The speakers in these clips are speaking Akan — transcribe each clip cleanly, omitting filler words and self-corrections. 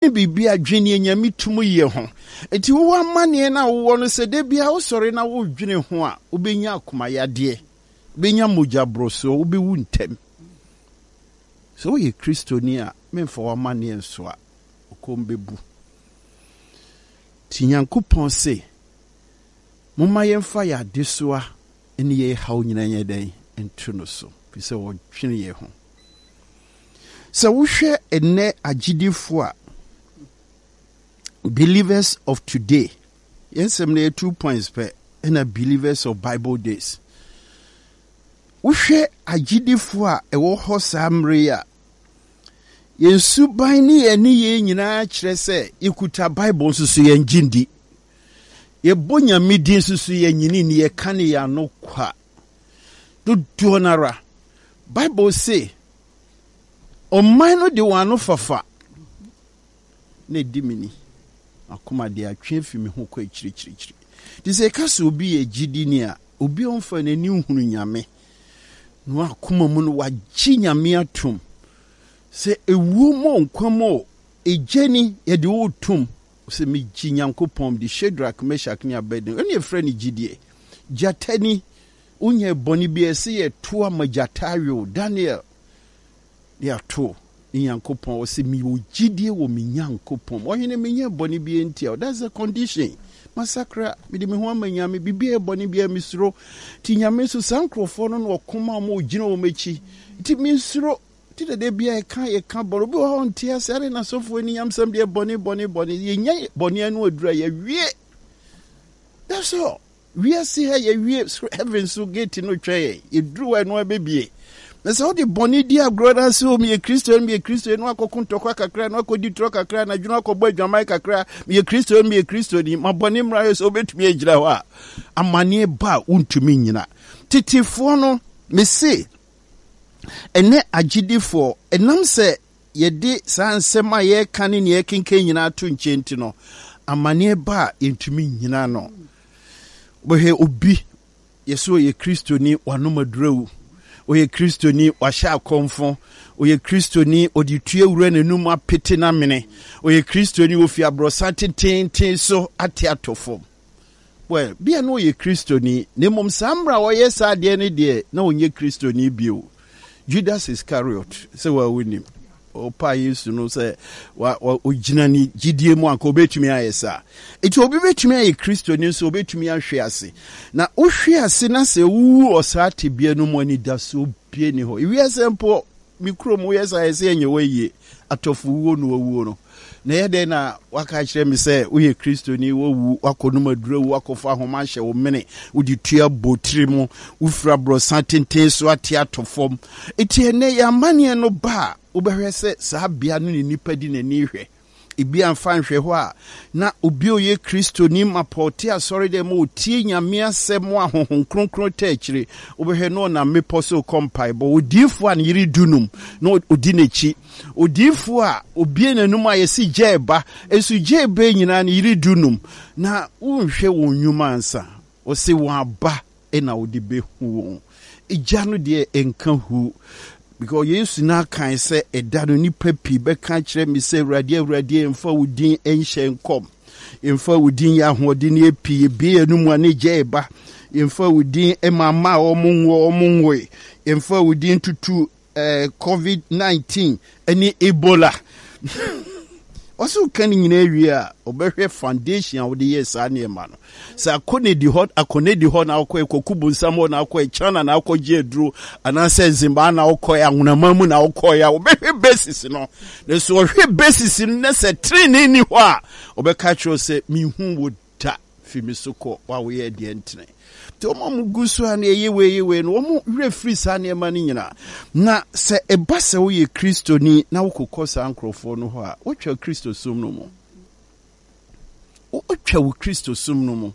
Biribi a dwen nea Nyame tum yɛ ho. Enti wowɔ amanneɛ no a wowɔ no sɛ da biara wosɔre na wodwene ho a, wobɛnya akomayadeɛ, wobɛnya mogya borosoɔ, wobɛwu ntɛm. Sɛ woyɛ Kristoni a, memfa w'amanneɛ nsoa, wo kɔn bɛbu. Nti Nyankopɔn se, momma yɛmfa yɛn adesoa ne yɛn haw nyinaa nyɛ dɛn? Nto no so, firi sɛ ɔdwene yɛn ho. Sɛ wohwɛ ɛnnɛ agyidifo a, believers of today, yɛn nsɛm no yɛ 2 points pɛ, ɛna believers of Bible days. Wohwɛ agyidifo a ɛwɔ hɔ saa mmerɛ yi a, yɛn suban ne yɛn nneyɛe nyinaa kyerɛ sɛ yɛkuta Bible nso so yɛn gye ndi. Yɛbɔ Nyame din nso so yɛnyini ni, yɛka ne yɛn ano kwa. Dodoɔ no ara, Bible se, ɔman no de wɔn ano fafa na ɛdi me ni. Akoma de atwe afi me ho kɔ akyirikyirikyiri. Nti sɛ yɛka sɛ obi yɛ gyidini a, obi a ɔmfa n'ani nhunu Nyame, na akoma mu no wagye Nyame atom sɛ ewuo mu o, nkwa mu o, egya ni, yɛde wo tom sɛ megye Nyankopɔn di. Shadrach, Meshach ne Abednego, ɛne yɛfrɛ no gyidie. Gyata ni, wonyɛ bɔne bi a ɛsɛ yɛto ama gyata awe wo. Daniel de ato ne Nyankopɔn, ɔsɛ mewɔ gyidie wɔ me Nyankopɔn. Ɔhene, menyɛ bɔne bi ntia wo. That's the condition. Masakra, mede me ho ama Nyame, biribi a ɛyɛ bɔne biara mesuro. Nti Nyame nso saa nkurɔfoɔ no na ɔko ma wɔn, ɔgyina wɔn akyi. Nti mensuro. Nti dada biara yɛka yɛka bɔne. Obi wɔ hɔ a ɔnte ase, adɛn na asɔfoɔ ani nyamsɛm deɛ bɔne bɔne bɔne. Yɛnya bɔne ano aduru a yɛwie. That's all. Wiase ha yɛwie, heaven so gate no twɛn yɛn. Yɛduru hɔ ɛno ɛbɛbie. Na sɛ wode bɔne di agorɔ na sɛ meyɛ Kristo, meyɛ Kristo, no akɔko ntɔkwa kakra, no akɔdi torɔ kakra, anadwo no akɔbɔ adwaman kakra, meyɛ Kristo, meyɛ Kristo ni, ma bɔne mmra hɛ sɛ wobɛtumi agyina hɔ a, amanneɛ ba a wontumi nnyina. Tetefoɔ no, mese, ɛnɛ agyidifoɔ, ɛnam sɛ yɛde saa nsɛm a yɛreka ne nea yɛkenkan nyinaa to nkyɛn nti no, amanneɛ ba a yɛntumi nnyina ano. Wobɛhwɛ obi, yɛsɛ ɔyɛ Kristoni, wanom aduru awu. Ɔyɛ Kristoni, wahyɛ akɔmfo. Ɔyɛ Kristoni, ɔde tue wura n'anum apete n'amene. Ɔyɛ Kristoni, ofi aborɔsan tententen so ate atɔ fam. Well, bia na ɔyɛ Kristoni, na mmom saa mmerɛ a ɔyɛ saa adeɛ no deɛ, na ɔnyɛ Kristoni bio. Judas Iscariot, sɛ wa wonim, ɔpaa Yesu no sɛ ɔgyina ne gyidie mu anka ɔbɛtumi ayɛ saa. Enti obi bɛtumi ayɛ Kristoni nso ɔbɛtumi ahwe ase. Na wohwe ase na sɛ wowu wɔ saa tebea no mu, anidasoɔ bie ni hɔ. Ewiase mpo, me kurom woyɛ saa yɛsɛ yɛnyɛ wo ayie, atɔfo wuo na wawuo no. Na ɛyɛ dɛn na woaka akyerɛ me sɛ woyɛ Kristoni, woawu, woakɔnom aduru awu, woakɔfa ahoma ahyɛ wo mene, wode tua bɔ tiri mu, wofiri aborɔsan tenten so ate atɔ fam. Enti ɛnnɛ yɛn amanneɛ no ba a, wobɛhwɛ sɛ saa bea no ne nnipa di n'ani hwɛ. Ebi amfa anhwɛ hɔ a, na obi a ɔyɛ Kristoni mapa ɔte asɔredɛm mu ɔtie Nyame asɛm a Honhom Kronkron taa akyire, wobɛhwɛ na ɔnam mmepɔ so rekɔ mpaebɔ. Odiyifoɔ a ne yere dunum na ɔdi n'akyi. Odiyifoɔ a obue n'anom a yɛse gya reba, nso gya reba yi nyinaa ne yere dunum. Na wonhwɛ wɔn nnwuma ansa. Ɔse wɔn aba na wode bɛhu wɔn. Egya no deɛ ɛnka hu. Because Yesu no akae sɛ ɛda no nnipa pii bɛka akyerɛ me sɛ Awurade, Awurade, yɛmfa wo din nhyɛ nkɔm. Yɛmfa wo din yɛ ahoɔdenneɛ pii. Yɛbue yɛn anomu a na egya reba. Yɛmfa wo din ma mma a wɔn nwoɔ wɔn nwoe. Yɛmfa wo din tutu eh, COVID-19 ne Ebola. Ɔsɛ woka ne nyinaa wie a, ɔbɛhwɛ foundation a wode yɛɛ saa nneɛma no. Sɛ akɔnedi hɔ, akɔnedi hɔ na wokɔɛ, Kwaku Bonsam hɔ na wokɔɛ, China na wokɔgye aduro, anaasɛ Zimbabwe na wokɔɛ, Anwonama mu na wokɔɛ a, wɔbɛhwɛ basis no. Na sɛ ɔhwɛ basis no na sɛ trenee ni hɔ a, ɔbɛka kyerɛ wo sɛ, menhu wo da, fi me so kɔ, wo a woyɛɛ deɛ ntene. Nti wɔn a wɔgu so a na ɛyɛ wei yɛ wei no, wɔn werɛ firi saa nneɛma no nyinaa. Na sɛ ɛba sɛ woyɛ Kristoni na wokokɔ saa nkurɔfoɔ no hɔ a, wotwa Kristosom no mu. Wotwa wo Kristosom no mu.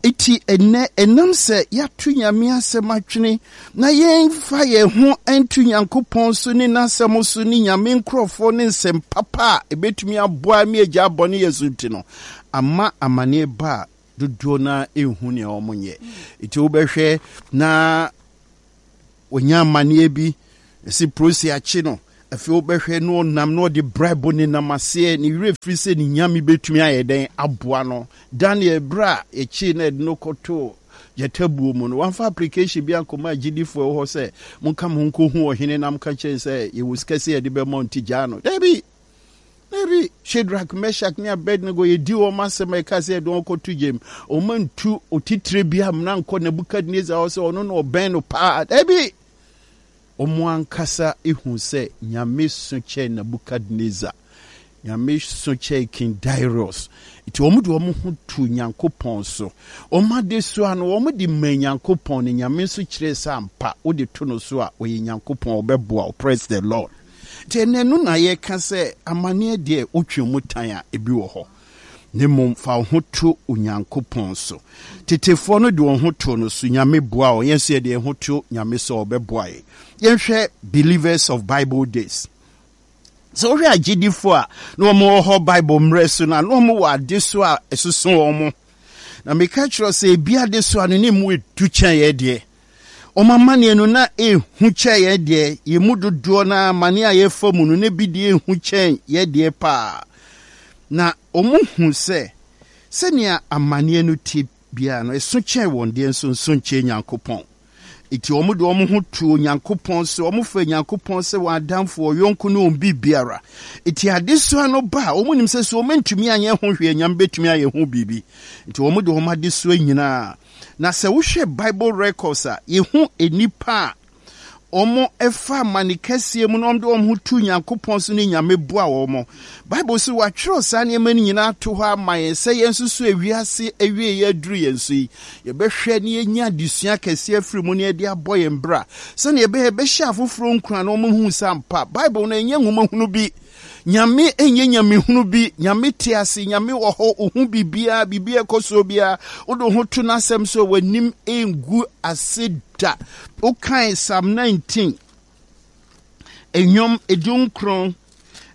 Eti ɛnɛ ɛnam sɛ yɛato Nyame asɛm atwene na yɛmfa yɛn ho nto Nyankopɔn so ne n'asɛm so ne Nyame nkurɔfoɔ ne nsɛm papa a ɛbɛtumi aboa me agya bɔne yɛ so nti no, ama amaneɛ ba a dodoɔ no ara nhu nea wɔnyɛ. Nti wobɛhwɛ na wɔnya amanneɛ bi, ɛsi polisi akye no. Afei wobɛhwɛ na ɔnam na ɔde braibo nenam aseɛ, ne werɛ firi sɛ ne Nyame bɛtumi ayɛ dɛn aboa no. Daniel, berɛ a yɛkyee no a yɛde no kɔtoo gyata buo mu no, wamfa application bi ankɔma agyidifoɔ ɛwɔ hɔ sɛ monka mo ho nkɔhu ɔhene na monka kyerɛ no sɛ yɛwɔ sika sɛ yɛde bɛma nti gyaa no. Dabi! Dabi! Shadrach, Meshach ne Abednego yɛdi wɔn asɛm a ɛka sɛ yɛde wɔn kɔto gyam. Wɔn antu otitire bi amena nkɔ Nebukadnesar hɔ sɛ ɔno na ɔbɛn no paa. Dabi! Wɔn ankasa hu sɛ Nyame so kyɛn Nebukadnesar, Nyame so kyɛn King Darius. Nti wɔn de wɔn ho too Nyankopɔn so. Wɔn adesoa no, wɔn de maa Nyankopɔn, na Nyame nso kyerɛɛ sɛ ampa, wode to no so a, ɔyɛ Nyankopɔn, ɔbɛboa wo. Praise the Lord. Nti ɛnnɛ no na yɛka sɛ amaneɛ deɛ wotwe mu tan a, ebi wɔ hɔ. Na mmom fa wo ho to Onyankopɔn so. Tetefoɔ no de wɔn ho too no so, Nyame boaa wɔn. Yɛn nso yɛde yɛn ho to Nyame so a ɔbɛboa yɛn. Yɛnhwɛ Believers of Bible Days. Sɛ wohwɛ agyedifoɔ a na wɔn wɔ hɔ Bible mmerɛ so no a, na wɔn wɔ adesoa a ɛsoso wɔn. Na meka kyerɛ sɛ ebi adesoa no ne mu edu kyɛn yɛn deɛ. Wɔn amanneɛ no na ehu kyɛn yɛn deɛ. Yɛn mu dodoɔ no ara amanneɛ a yɛfa mu no na ebi deɛ ehu kyɛn yɛn deɛ paa. Na wɔhu sɛ sɛnea amanneɛ no te biara no, ɛso kyɛn wɔn deɛ nso nso nkyɛn Nyankopɔn. Enti wɔde wɔn ho to Onyankopɔn so, wɔfa Onyankopɔn sɛ wɔn adamfo, wɔn yɔnko ne wɔn biribiara. Enti adesoa no ba a, wɔnim sɛ sɛ wɔantumi anyɛ ho hwee a, Nyame bɛtumi ayɛ ho biribi. Enti wɔde wɔn adesoa nyinaa. Na sɛ wohwɛ Bible records a, yɛhu nnipa a wɔfa amane kɛseɛ mu na wɔde wɔn ho to Nyankopɔn so ne Nyame boa wɔn. Bible se wɔatwerɛ saa nneɛma no nyinaa ato hɔ ama yɛn sɛ yɛn nso so ewiase awieeɛ aduru yɛn so yi, yɛbɛhwɛ na yɛanya adesua kɛseɛ afiri mu na yɛde abɔ yɛn bra sɛdeɛ ɛbɛyɛ yɛbɛhyɛ afoforɔ nkuran na wɔahu sɛ ampa Bible no ɛnyɛ nwoma hunu bi. Nyame nyɛ nyamehunu bi. Nyame te ase, Nyame wɔ hɔ, ohu biribiara, biribiara ɛkɔ soɔ biara. Wode wo ho to n'asɛm so a, w'anim ngu ase da. Wokae Psalm 19, nnwom 19,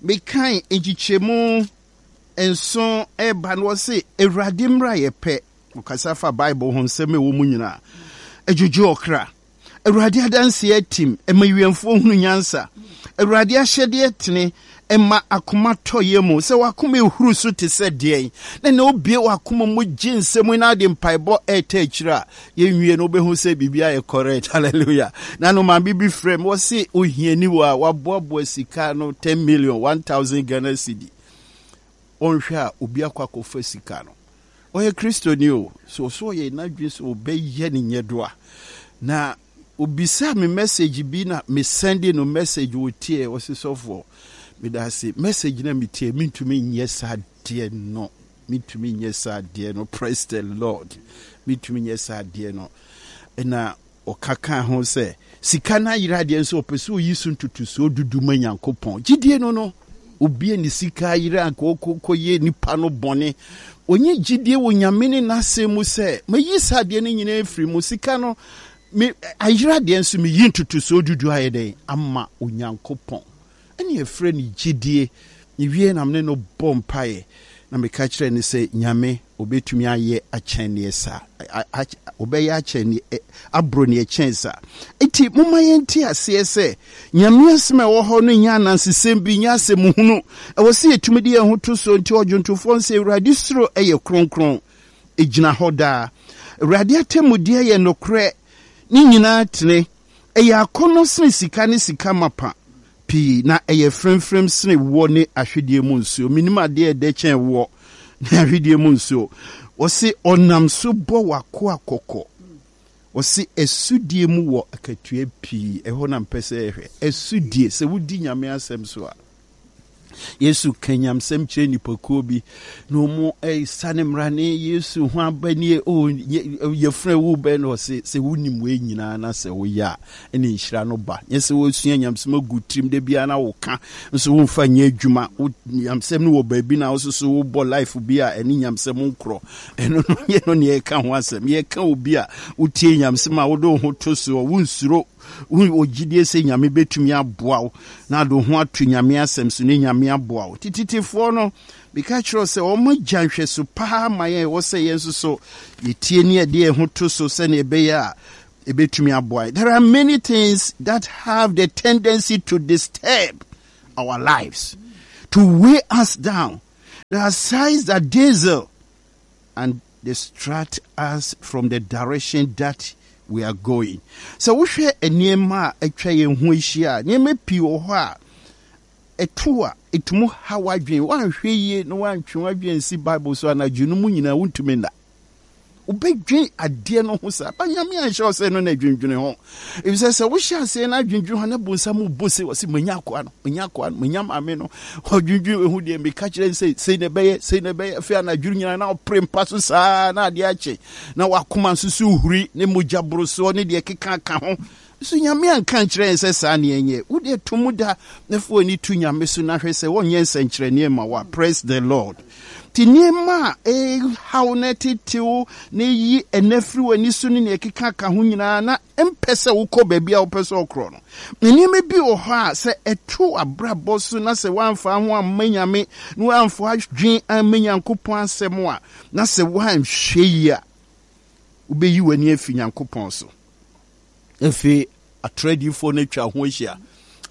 mekae nkyekyɛmu nson ɛreba no, wɔse, Awurade mmra yɛ pɛ. Ɔkasa fa Bible ho nsɛm a ɛwɔ mu nyinaa. Ɛdwodwo ɔkra. Awurade adanseɛ atim, ɛma wiɛmfoɔ hunu nyansa. Awurade ahyɛdeɛ tene, ɛma akoma tɔ yam. Sɛ w'akoma ehuru so te sɛ deɛn, na na obue w'akoma mu gye nsɛm yi na ade mpaebɔ ɛretɛ akyire a, yɛnwie no wobɛhu sɛ biribi ayɛ correct. Hallelujah. Na no maame bi frɛ me, wɔse ohiani wɔ a waboaboa sika no 10 million, 1000 Ghana cedi. Ɔnhwɛ a obi akɔ akɔfa sika no. Ɔyɛ Kristoni o, so ɔsɛ ɔyɛ n'adwene sɛ ɔbɛyɛ ne nyɛdoa. Na obisaa me message bi na me sɛnde no message ɔtiee, ɔse sɔfoɔ meda ase, message na metie mentumi nyɛ saa deɛ no, mentumi nyɛ saa deɛ no, praise the Lord, mentumi nyɛ saa deɛ no. Na Ɔka kaa ho sɛ, Sika no ayera deɛ, nso ɔpɛ sɛ ɔyi so ntotosoɔ dudu ma Nyankopɔn. Gyidie no no, obi a ne sika ayera anka ɔkɔyɛ nipa no bɔne. Ɔnyɛ gyidie wɔ Nyame ne n'asɛm mu sɛ, mayi saa adeɛ no nyinaa afiri mu, sika no me ayera deɛ nso meyi ntotosoɔ dudu ayɛ dɛn ama Onyankopɔn. Ɛne yɛfrɛ no gyidie. Mewie na mene no bɔ mpaeɛ na meka kyerɛ no sɛ Nyame ɔbɛtumi ayɛ akyɛn neɛ saa, ɔbɛyɛ akyɛn neɛ, aboro neɛ ɛkyɛn saa. Nti momma yɛnte aseɛ sɛ Nyame asɛm a ɛwɔ hɔ no nyɛ anansesɛm bi, nyɛ asɛm hunu. Ɛwɔ sɛ yɛtumi de yɛn ho to soɔ. Nti ɔdwontofoɔ no sɛ, Awurade suro yɛ kronkron, ɛgyina hɔ daa. Awurade atemmudeɛ yɛ nokorɛ, ne nyinaa tene. Ɛyɛ akɔnnɔ sene sika ne sika mapa pii, na ɛyɛ fremfrem sene woɔ ne ahwedeɛ mu nsuo. Mennim adeɛ a ɛdɛ kyɛn woɔ ne ahwedeɛ mu nsuo. Wɔse ɔnam so bɔ w'akoa kɔkɔ. Wɔse asudie mu wɔ akatua pii. Ɛhɔ na mpɛ sɛ yɛhwɛ. Asudie, sɛ wodi Nyame asɛm so a. Yesu ka nyamsɛm kyerɛ nnipakuo bi na wɔn sane mmara ne Yesu ho aba nie o yɛfrɛ wo bɛn na ɔse sɛ wonim wei nyinaa na sɛ woyɛ a ɛne nhyira no ba nyɛ sɛ wosua nyamsɛm agu tirim da biara na woka nso womfa nyɛ adwuma wo nyamsɛm no wɔ baabi na wo so wobɔ life bi a ɛne nyamsɛm nkorɔ ɛno no yɛ no ne yɛka ho asɛm yɛka obi a wotie nyamsɛm a wode wo ho to soɔ wonsuro Wowɔ gyidie sɛ Nyame bɛtumi aboa wo na ade wo ho ato Nyame asɛm so ne Nyame aboa wo. Tititifoɔ no, meka kyerɛ wo sɛ wɔn agya nhwɛso paa ma yɛn ɛwɔ sɛ yɛn nso so yɛtie ne yɛde yɛn ho to so sɛdeɛ ɛbɛyɛ a ɛbɛtumi aboa yɛn. There are many things that have the tendency to disturb. our lives, to weigh us down. There are signs that dazzle and distract us from the direction that we are going. Sɛ wohwɛ nneɛma a atwa yɛn ho ahyia a, nneɛma pii wɔ hɔ a ɛto a ɛtumi ha w'adwene. Woanhwɛ yie na woantwe w'adwene ansi Bible so anadwo no mu nyinaa wontumi nna. Wobɛdwen adeɛ no ho saa. Ba Nyame anhyɛ wo sɛ ɛno na dwendwene ho. Efisɛ sɛ wohyɛ aseɛ na adwendwene ho na bonsam bɔ se ɔse manya akoa no, manya akoa no, manya maame no. Ɔdwendwene ehu deɛ meka kyerɛ no sɛ sei na ɛbɛyɛ, sei na ɛbɛyɛ. Afei anadwo nyinaa na ɔpere mpa so saa na adeɛ akye na wakoma nso so huri ne mogya borosoɔ ne deɛ keka ka ho. So Nyame anka ankyerɛ yɛn sɛ saa ne yɛnyɛ? Wo deɛ to mu da na fa w'ani to Nyame so na hwɛ sɛ ɔnyɛ nsɛnkyerɛnneɛ mma wo a. Praise the Lord. Nti nneɛma a ɛhaw na ɛtetew na ɛyi ɛnɛ firi w'ani so ne nea ɛkeka ka ho nyinaa na ɛmpɛ sɛ wokɔ baabi a wopɛ sɛ ɔkorɔ no. Nneɛma bi wɔ hɔ a sɛ ɛto abrabɔ so na sɛ woamfa ho amma Nyame na woamfa adwen amma Nyankopɔn asɛm a na sɛ woanhwɛ yie a wobɛyi w'ani afi Nyankopɔn so. Afei atorɔ adiyifoɔ no atwa ho ahyia,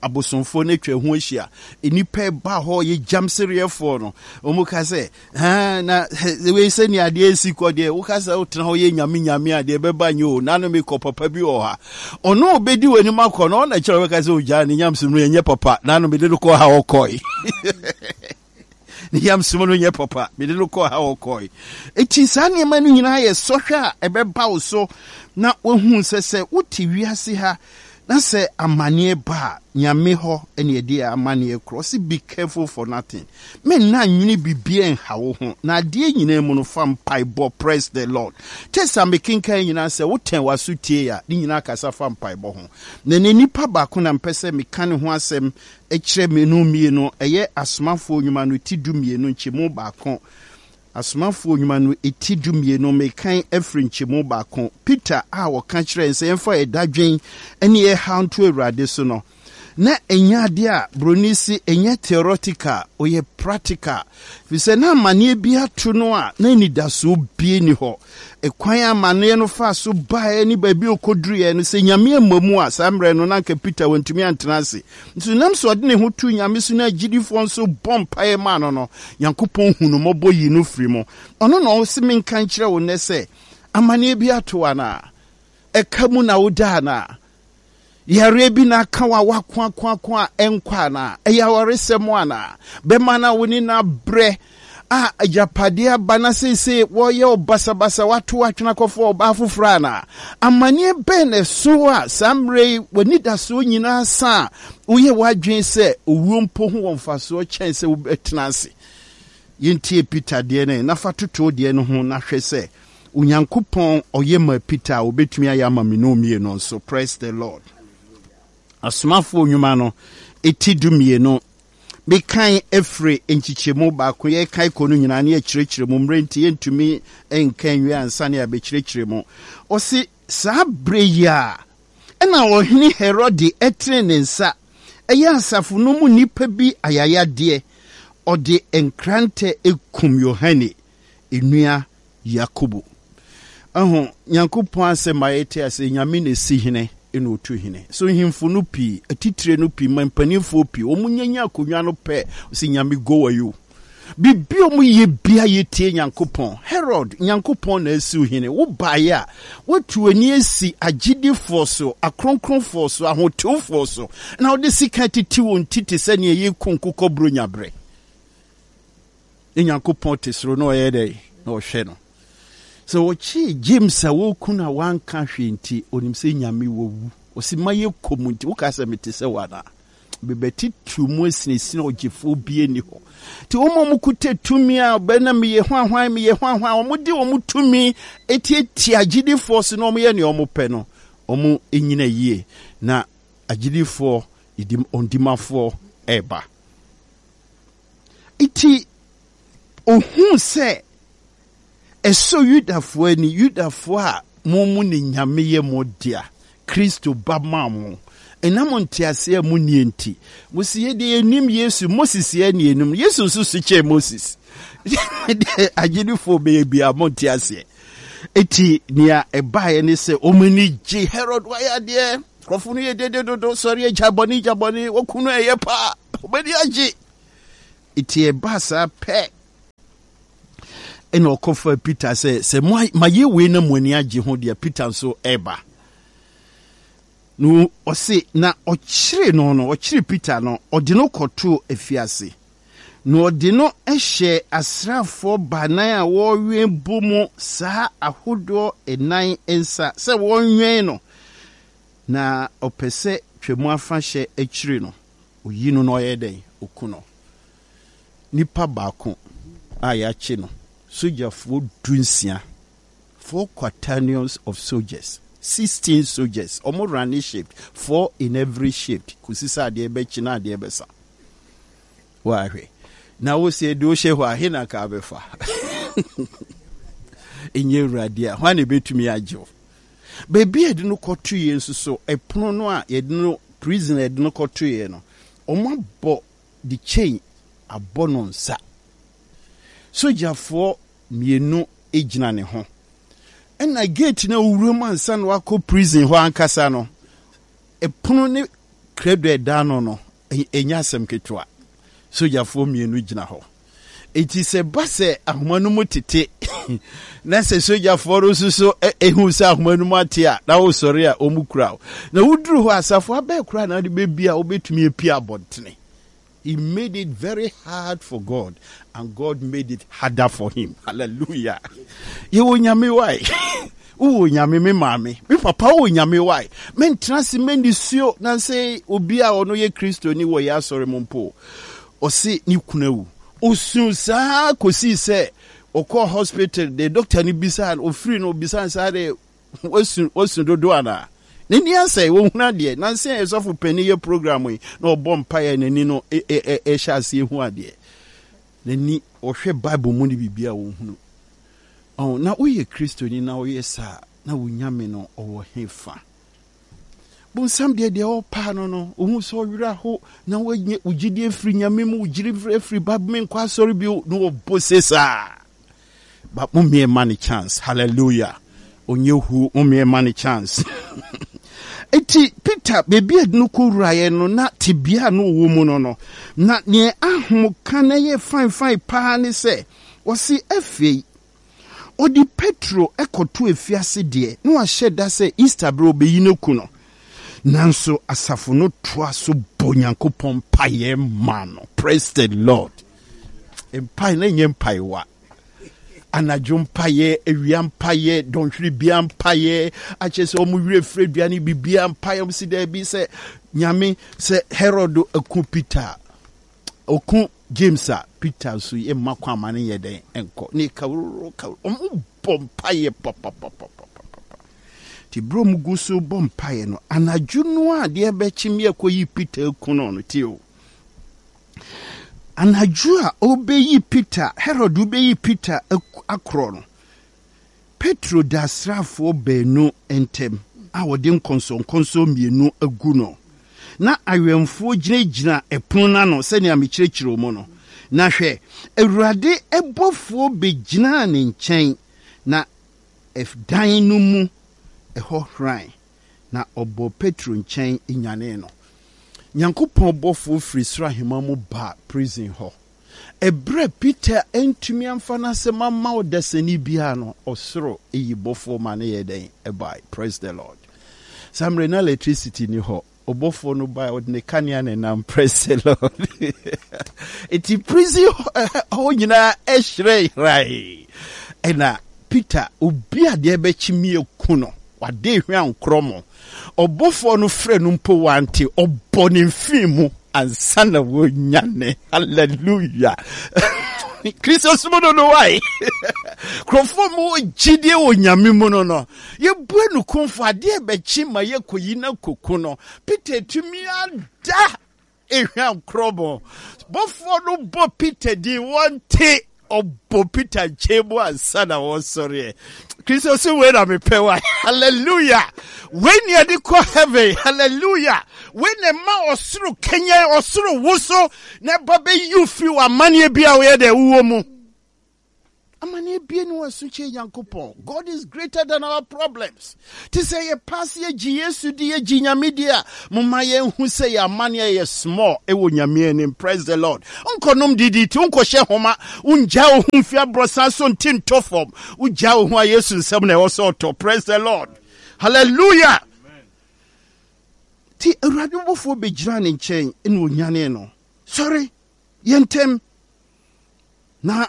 abosomfoɔ no atwa ho ahyia, nnipa ɛba hɔ yɛ gyamsereɛfoɔ no, wɔn ka sɛ, na wei sɛ nea adeɛ esi kɔ deɛ, woka sɛ wotena hɔ yɛ nyame nyame a deɛ ɛbɛba nyɛ o, nano mekɔ papa bi wɔ ha. Ɔno obɛdi w'anim akɔ no, ɔna kyerɛ wobɛka sɛ ogyaa ne nyamsom no ɛnyɛ papa, nano mede no kɔɔ ha ɔkɔe. Ne yam som no nyɛ papa. Mede no kɔɔ ha ɔkɔe. Enti saa nneɛma no nyinaa yɛ sɔhwɛ a ɛbɛba wo so na woahu sɛ sɛ wote wiase ha na sɛ amanneɛ ba a, Nyame hɔ na yɛde amanneɛ korɔ. Ɔse be careful for nothing. Menna nwene biribiara nha wo ho, na adeɛ nyinaa mu no fa mpaebɔ press the Lord. Text a mekenkan nyinaa sɛ wotɛn w'aso tie a, ne nyinaa kasa fa mpaebɔ ho. Na ɛnɛ nipa baako na mpɛ sɛ meka ne ho asɛm kyerɛ menu mmienu, ɛyɛ Asomafoɔ Nnwuma no ti dummienu nkyɛmu baako. Asomafoɔ Nnwuma no ti dummienu, mekan afiri nkyɛmu baako. Peter a ɔka kyerɛɛ yɛn sɛ yɛmfa yɛn dadwen ne yɛn haw nto Awurade so no, na ɛnyɛ adeɛ a buroni se ɛnyɛ theoretical, ɔyɛ practical. Ɛfiri sɛ na amanneɛ bi ato no a na anidasoɔ bie ni hɔ. Ɛkwan a amanneɛ no faa so baeɛ ne baabi a ɔkɔduruiɛ no, sɛ Nyame amma mu a, saa mmerɛ no na anka Peter wantumi antena ase. Nso nam sɛ ɔde ne ho too Nyame so na agyidifoɔ nso bɔ mpaeɛ maa no no, Nyankopɔn hu no mmɔbɔ yii no firi mu. Ɔno na ɔse menka nkyerɛ wo nnɛ sɛ, amanneɛ bi ato wo anaa? Ɛka mu na woda anaa? Yareɛ bi na aka wo a woakoakoako a ɛnkɔ anaa? Ɛyɛ awaresɛm anaa? Bɛma no a wo ne no abrɛ a agyapadeɛ aba na seesei wɔyɛ wo basabasa, woato w'atwene akɔfa ɔbaa foforɔ anaa? Amanneɛ bɛn na ɛso wo a saa mmerɛ yi w'anidasoɔ nyinaa sa a woyɛ w'adwene sɛ owuo mpo ho wɔ mfasoɔ kyɛn sɛ wobɛtena ase? Yɛntie Peter deɛ no na fa toto wo deɛ no ho na hwɛ sɛ Onyankopɔn ɔyɛ maa Peter a ɔbɛtumi ayɛ ama me ne wo mmienu nso. Praise the Lord. Asomafoɔ nnwuma no ɛti dummienu mekan afiri nkyekyɛmu baako yɛkan kɔ no nyinaa ne yɛkyerɛkyerɛ mu mmerɛ nti yɛntumi nka nwie ansa ne yɛabɛkyerɛkyerɛ mu. Ɔse saa berɛ yi a ɛna ɔhene Herode ɛtene ne nsa ɛyɛ asafo no mu nnipa bi ayayadeɛ, ɔde nkrantɛ kum Yohane nua Yakobo. Ɛho, Nyankopɔn asɛm ma yɛte ase, Nyame na esi hene na otu hene. So nhemfo no pii, atitire no pii, mpanimfoɔ pii, wɔn nyanya akonnwa no pɛ, sɛ Nyame go ayo. Biribi a wɔn yɛ bia yɛtie Nyankopɔn. Herod, Nyankopɔn na asiw hene. Wo baeɛ a, woatu w'ani asi agyedifoɔ so, akronkronfoɔ so, ahotewfoɔ so, na wode sika tete wɔn ti te sɛ nea yɛku nkokɔ buronya berɛ. Ne Nyankopɔn te soro na ɔyɛ dɛn? Na ɔhwɛ no. Sɛ wɔkyee James a wɔreku no a wanka hwee nti, onim sɛ Nyame wawu. Ɔsi ma yɛ kɔ mu nti, woka sɛ mete sɛ wo anaa? Mebɛtitiriw mu asinasini ɔgyefoɔ bi ani hɔ. Nti wɔn a wɔkuta tumi a ɔbɛ na meyɛ hwanhwan, meyɛ hwanhwan, wɔde wɔn tumi etiatia agyidifoɔ so na wɔyɛ nea wɔpɛ no, wɔn nyina yie na agyidifoɔ, ɔdimafoɔ ɛreba. Enti ohuu sɛ ɛsɔ Yudafoɔ ani, Yudafoɔ a mo mu ne Nyame yɛ mo dea, Kristo ba maa mo. Ɛnam nteaseɛ a monnie nti, mose yɛ deɛ yɛnnim Yesu, Moses yɛ ne yɛnim no. Yesu nso so kyɛn Moses. Deɛ agyedifoɔ bɛyɛ biara monte aseɛ. Enti nea ɛbaeɛ ne sɛ wɔn ani gye Herod wayɛ adeɛ, nkurɔfoɔ no yɛ dede dodo, sɔre agya bɔne gya bɔne, wɔku no ɛyɛ paa. Wɔn ani agye. Eti ɛbaa saa pɛ ɛna ɔkɔfa Peter sɛ sɛ mayɛ wei na mo ani agye ho deɛ Peter nso ɛreba. Na ɔse na ɔkyere no no ɔkyere Peter no ɔde no kɔtoo afiase. Na ɔde no hyɛɛ asraafoɔ baanan a wɔrewɛn bɔ mu saa ahodoɔ nnan nsa sɛ wɔnwɛn no. Na ɔpɛ sɛ Twam Afahyɛ akyiri no, ɔyi no na ɔyɛ dɛn? Ɔku no. Nipa baako a yɛakye no, sogyafoɔ dunsia, four quaternions of soldiers, 16 soldiers, wɔn runne shift, four in every shift, kɔsi sɛ adeɛ bɛkye na adeɛ bɛsa. Woahwɛ. Na wo sɛ de wohyɛ hɔ a, he na ka abɛfa? Ɛnyɛ Awurade a, hwan na ɛbɛtumi agye wo? Baabi a yɛde no kɔtoeɛ nso so, ɛpono no a yɛde no, prison a yɛde no kɔtoeɛ no, wɔabɔ de chain abɔ no nsa. Sogyafoɔ mmienu gyina ne ho. Ɛna gate no a wowura mu ansa na wakɔ prison hɔ ankasa no, ɛpono ne krado a ɛda ano no, ɛnyɛ asɛm ketewa. Sogyafoɔ mmienu gyina hɔ. Enti sɛ ɛba sɛ ahoma no mu tete na sɛ sogyafoɔ no nso so ehu sɛ ahoma no mu ate a na wosɔre a wɔn kura wo. Na woduru hɔ asafo abɛɛ koraa na wode bɛbi a wobɛtumi apue abɔntene. He made it very hard for God and God made it harder for him. Hallelujah. Yɛwɔ nyame wae. Wowɔ nyame me maame. Me papa wowɔ nyame wae. Mentena ase mɛnisuo na sɛ obi a ɔno yɛ Kristoni wɔ yɛ asɔre mu mpo. Ɔse ne kunu awu. Ɔsuu saa kɔsii sɛ ɔkɔɔ hospital de doctor no bisaa no, ɔfiri no ɔbisaa no saa de wasu wasu dodo anaa? N'ani asɛe, ɔhunu adeɛ. Nansa yi sɔfo panin yɛ program yi na ɔbɔ mpaeɛ n'ani no ɛhyɛ aseɛ hu adeɛ. N'ani ɔhwɛ Bible mu ne biribi a ɔhunu. Ɔn, na woyɛ Kristoni na woyɛ saa na wo Nyame no ɔwɔ he fa? Bonsam deɛ deɛ ɔpaa no no, ohun sɛ ɔwerɛ aho na wanya wo gyidie afiri Nyame mu, wo gyidi afiri Bible mu, nkɔ asɔre bio, na ɔbɔ se saa. But mo mmea ma ne chance, hallelujah. Ɔnyɛ hu, mo mmea ma ne chance. Eti Peter, baabi a no kɔwuraeɛ no, na tebea a na ɔwɔ mu no no, na neɛ ahomka na ɛyɛ fine fine paa ne sɛ, ɔse afei, Ɔde Petro kɔtoo afiase deɛ, na wahyɛ da sɛ Easter berɛ ɔbɛyi no aku no. Nanso asafo no toa so bɔ Onyankopɔn mpaeɛ ma no. Praise the Lord. Mpae na ɛnyɛ mpaewa. Anadwo mpaeɛ, awia mpaeɛ, dɔnhwere bia mpaeɛ, akyɛ sɛ wɔn werɛ firi aduane bibia mpaeɛ, wɔn si daabi sɛ Nyame sɛ Herod aku Peter. Ɔku James a, Peter nso yɛ mma kwan ma no nyɛ dɛn nkɔ. Ne kawururu kawururu. Wɔn bɔ mpaeɛ papapapapapa. Nti berɛ wɔn gu so bɔ mpaeɛ no, anadwo no a adeɛ bɛkye me akɔyi Peter aku no no, tie o. Anadwo a ɔbɛyi Peter, Herod bɛyi Peter akorɔ no, Petro da asraafoɔ baanu ntam a wɔde nkɔnsɔnkɔnsɔn mmienu agu no. Na awɛmfoɔ gyinagyina ɛpono no ano sɛnea mekyerɛkyerɛɛ mu no. Na hwɛ, Awurade bɔfoɔ bɛgyinaa ne nkyɛn, na ɛdan no mu hɔ hran, na ɔbɔɔ Petro nkyɛn nyanee no. Nyankopɔn bɔfoɔ firi soro ahemman mu baa prison hɔ. Ɛberɛ a Peter antumi amfa n'asɛm amma ɔdasani biara no, ɔsoro yi bɔfoɔ ma no yɛɛ dɛn? Ɛbae. Praise the Lord. Saa mmerɛ na electricity ni hɔ. Ɔbɔfoɔ no bae, ɔde ne kanea na ɛnam. Praise the Lord. Eti prison hɔ nyinaa ɛhyerɛn hrae. Ɛna Peter, obi a deɛ ɛbɛkye mi aku no, wade hwɛ ankorɔ mo. Ɔbɔfoɔ no frɛ no mpo wante, ɔbɔ ne mfii mu ansa na wɔnyane. Hallelujah. Kristo som no no wae. Kurɔfoɔ mu wɔ gyidie wɔ Nyame mu no no. Yɛbue no kumfo adeɛ bɛkye ma yɛkɔyi no akoko no. Peter tumi ada Ehwa nkorɔbɔ. Bɔfoɔ no bɔ Peter din, wɔnte. Ɔbɔ Peter nkyɛn mu ansa na wɔsɔreɛ. Kristo so wei na mepɛ wa. Hallelujah. Wei ne yɛde kɔ heaven. Hallelujah. Wei na ɛma ɔsoro kanyan, ɔsoro woso na ɛba bɛyi wo firi w'amanneɛ bi a woyɛ dɛ wowɔ mu. Amanneɛ Amanneɛ bie ne wɔ so kyɛn Nyankopɔn. God is greater than our problems. Te sɛ yɛ paase yɛgye Yesu di, yɛgye Nyame di a, momma yɛnhu sɛ yɛ amanneɛ yɛ small ɛwɔ Nyame anim. Praise the Lord. Nkɔnom DDT, wonkɔhyɛ homa, wongyaa wo ho mfi aborɔsan so nte ntɔ fam. Wogyaa wo ho a Yesu nsɛm na ɛwɔ sɛ ɔtɔ. Praise the Lord. Hallelujah. Ti Awurade bɔfoɔ bɛgyina ne nkyɛn na ɔnyanee no. Sɔre, yɛ ntɛm. Na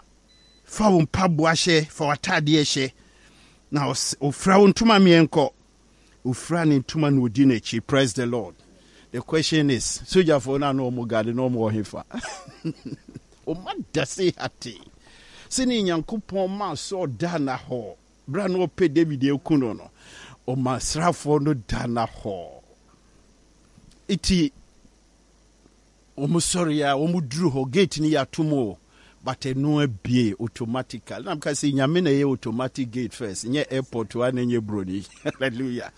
fa wo mpaboa hyɛ, fa w'ataadeɛ hyɛ, na ɔfira wo ntoma mmiɛnkɔ. Ɔfira ne ntoma na ɔdi n'akyi. Praise the Lord. The question is, sogyafoɔ no a na wɔn gade na wɔn wɔ hefa? Wɔn ada se hate. Sɛnea Nyankopɔn maa Saul daa na hɔ berɛ a na ɔpɛ David aku no no, ɔma asraafoɔ no da na hɔ. Eti Wɔn sɔre a wɔn duru hɔ gate no yɛ atom o but ɛno abie automatically na meka sɛ nyame na ɛyɛ automatic gate first nyɛ airport wa na nyɛ broni hallelujah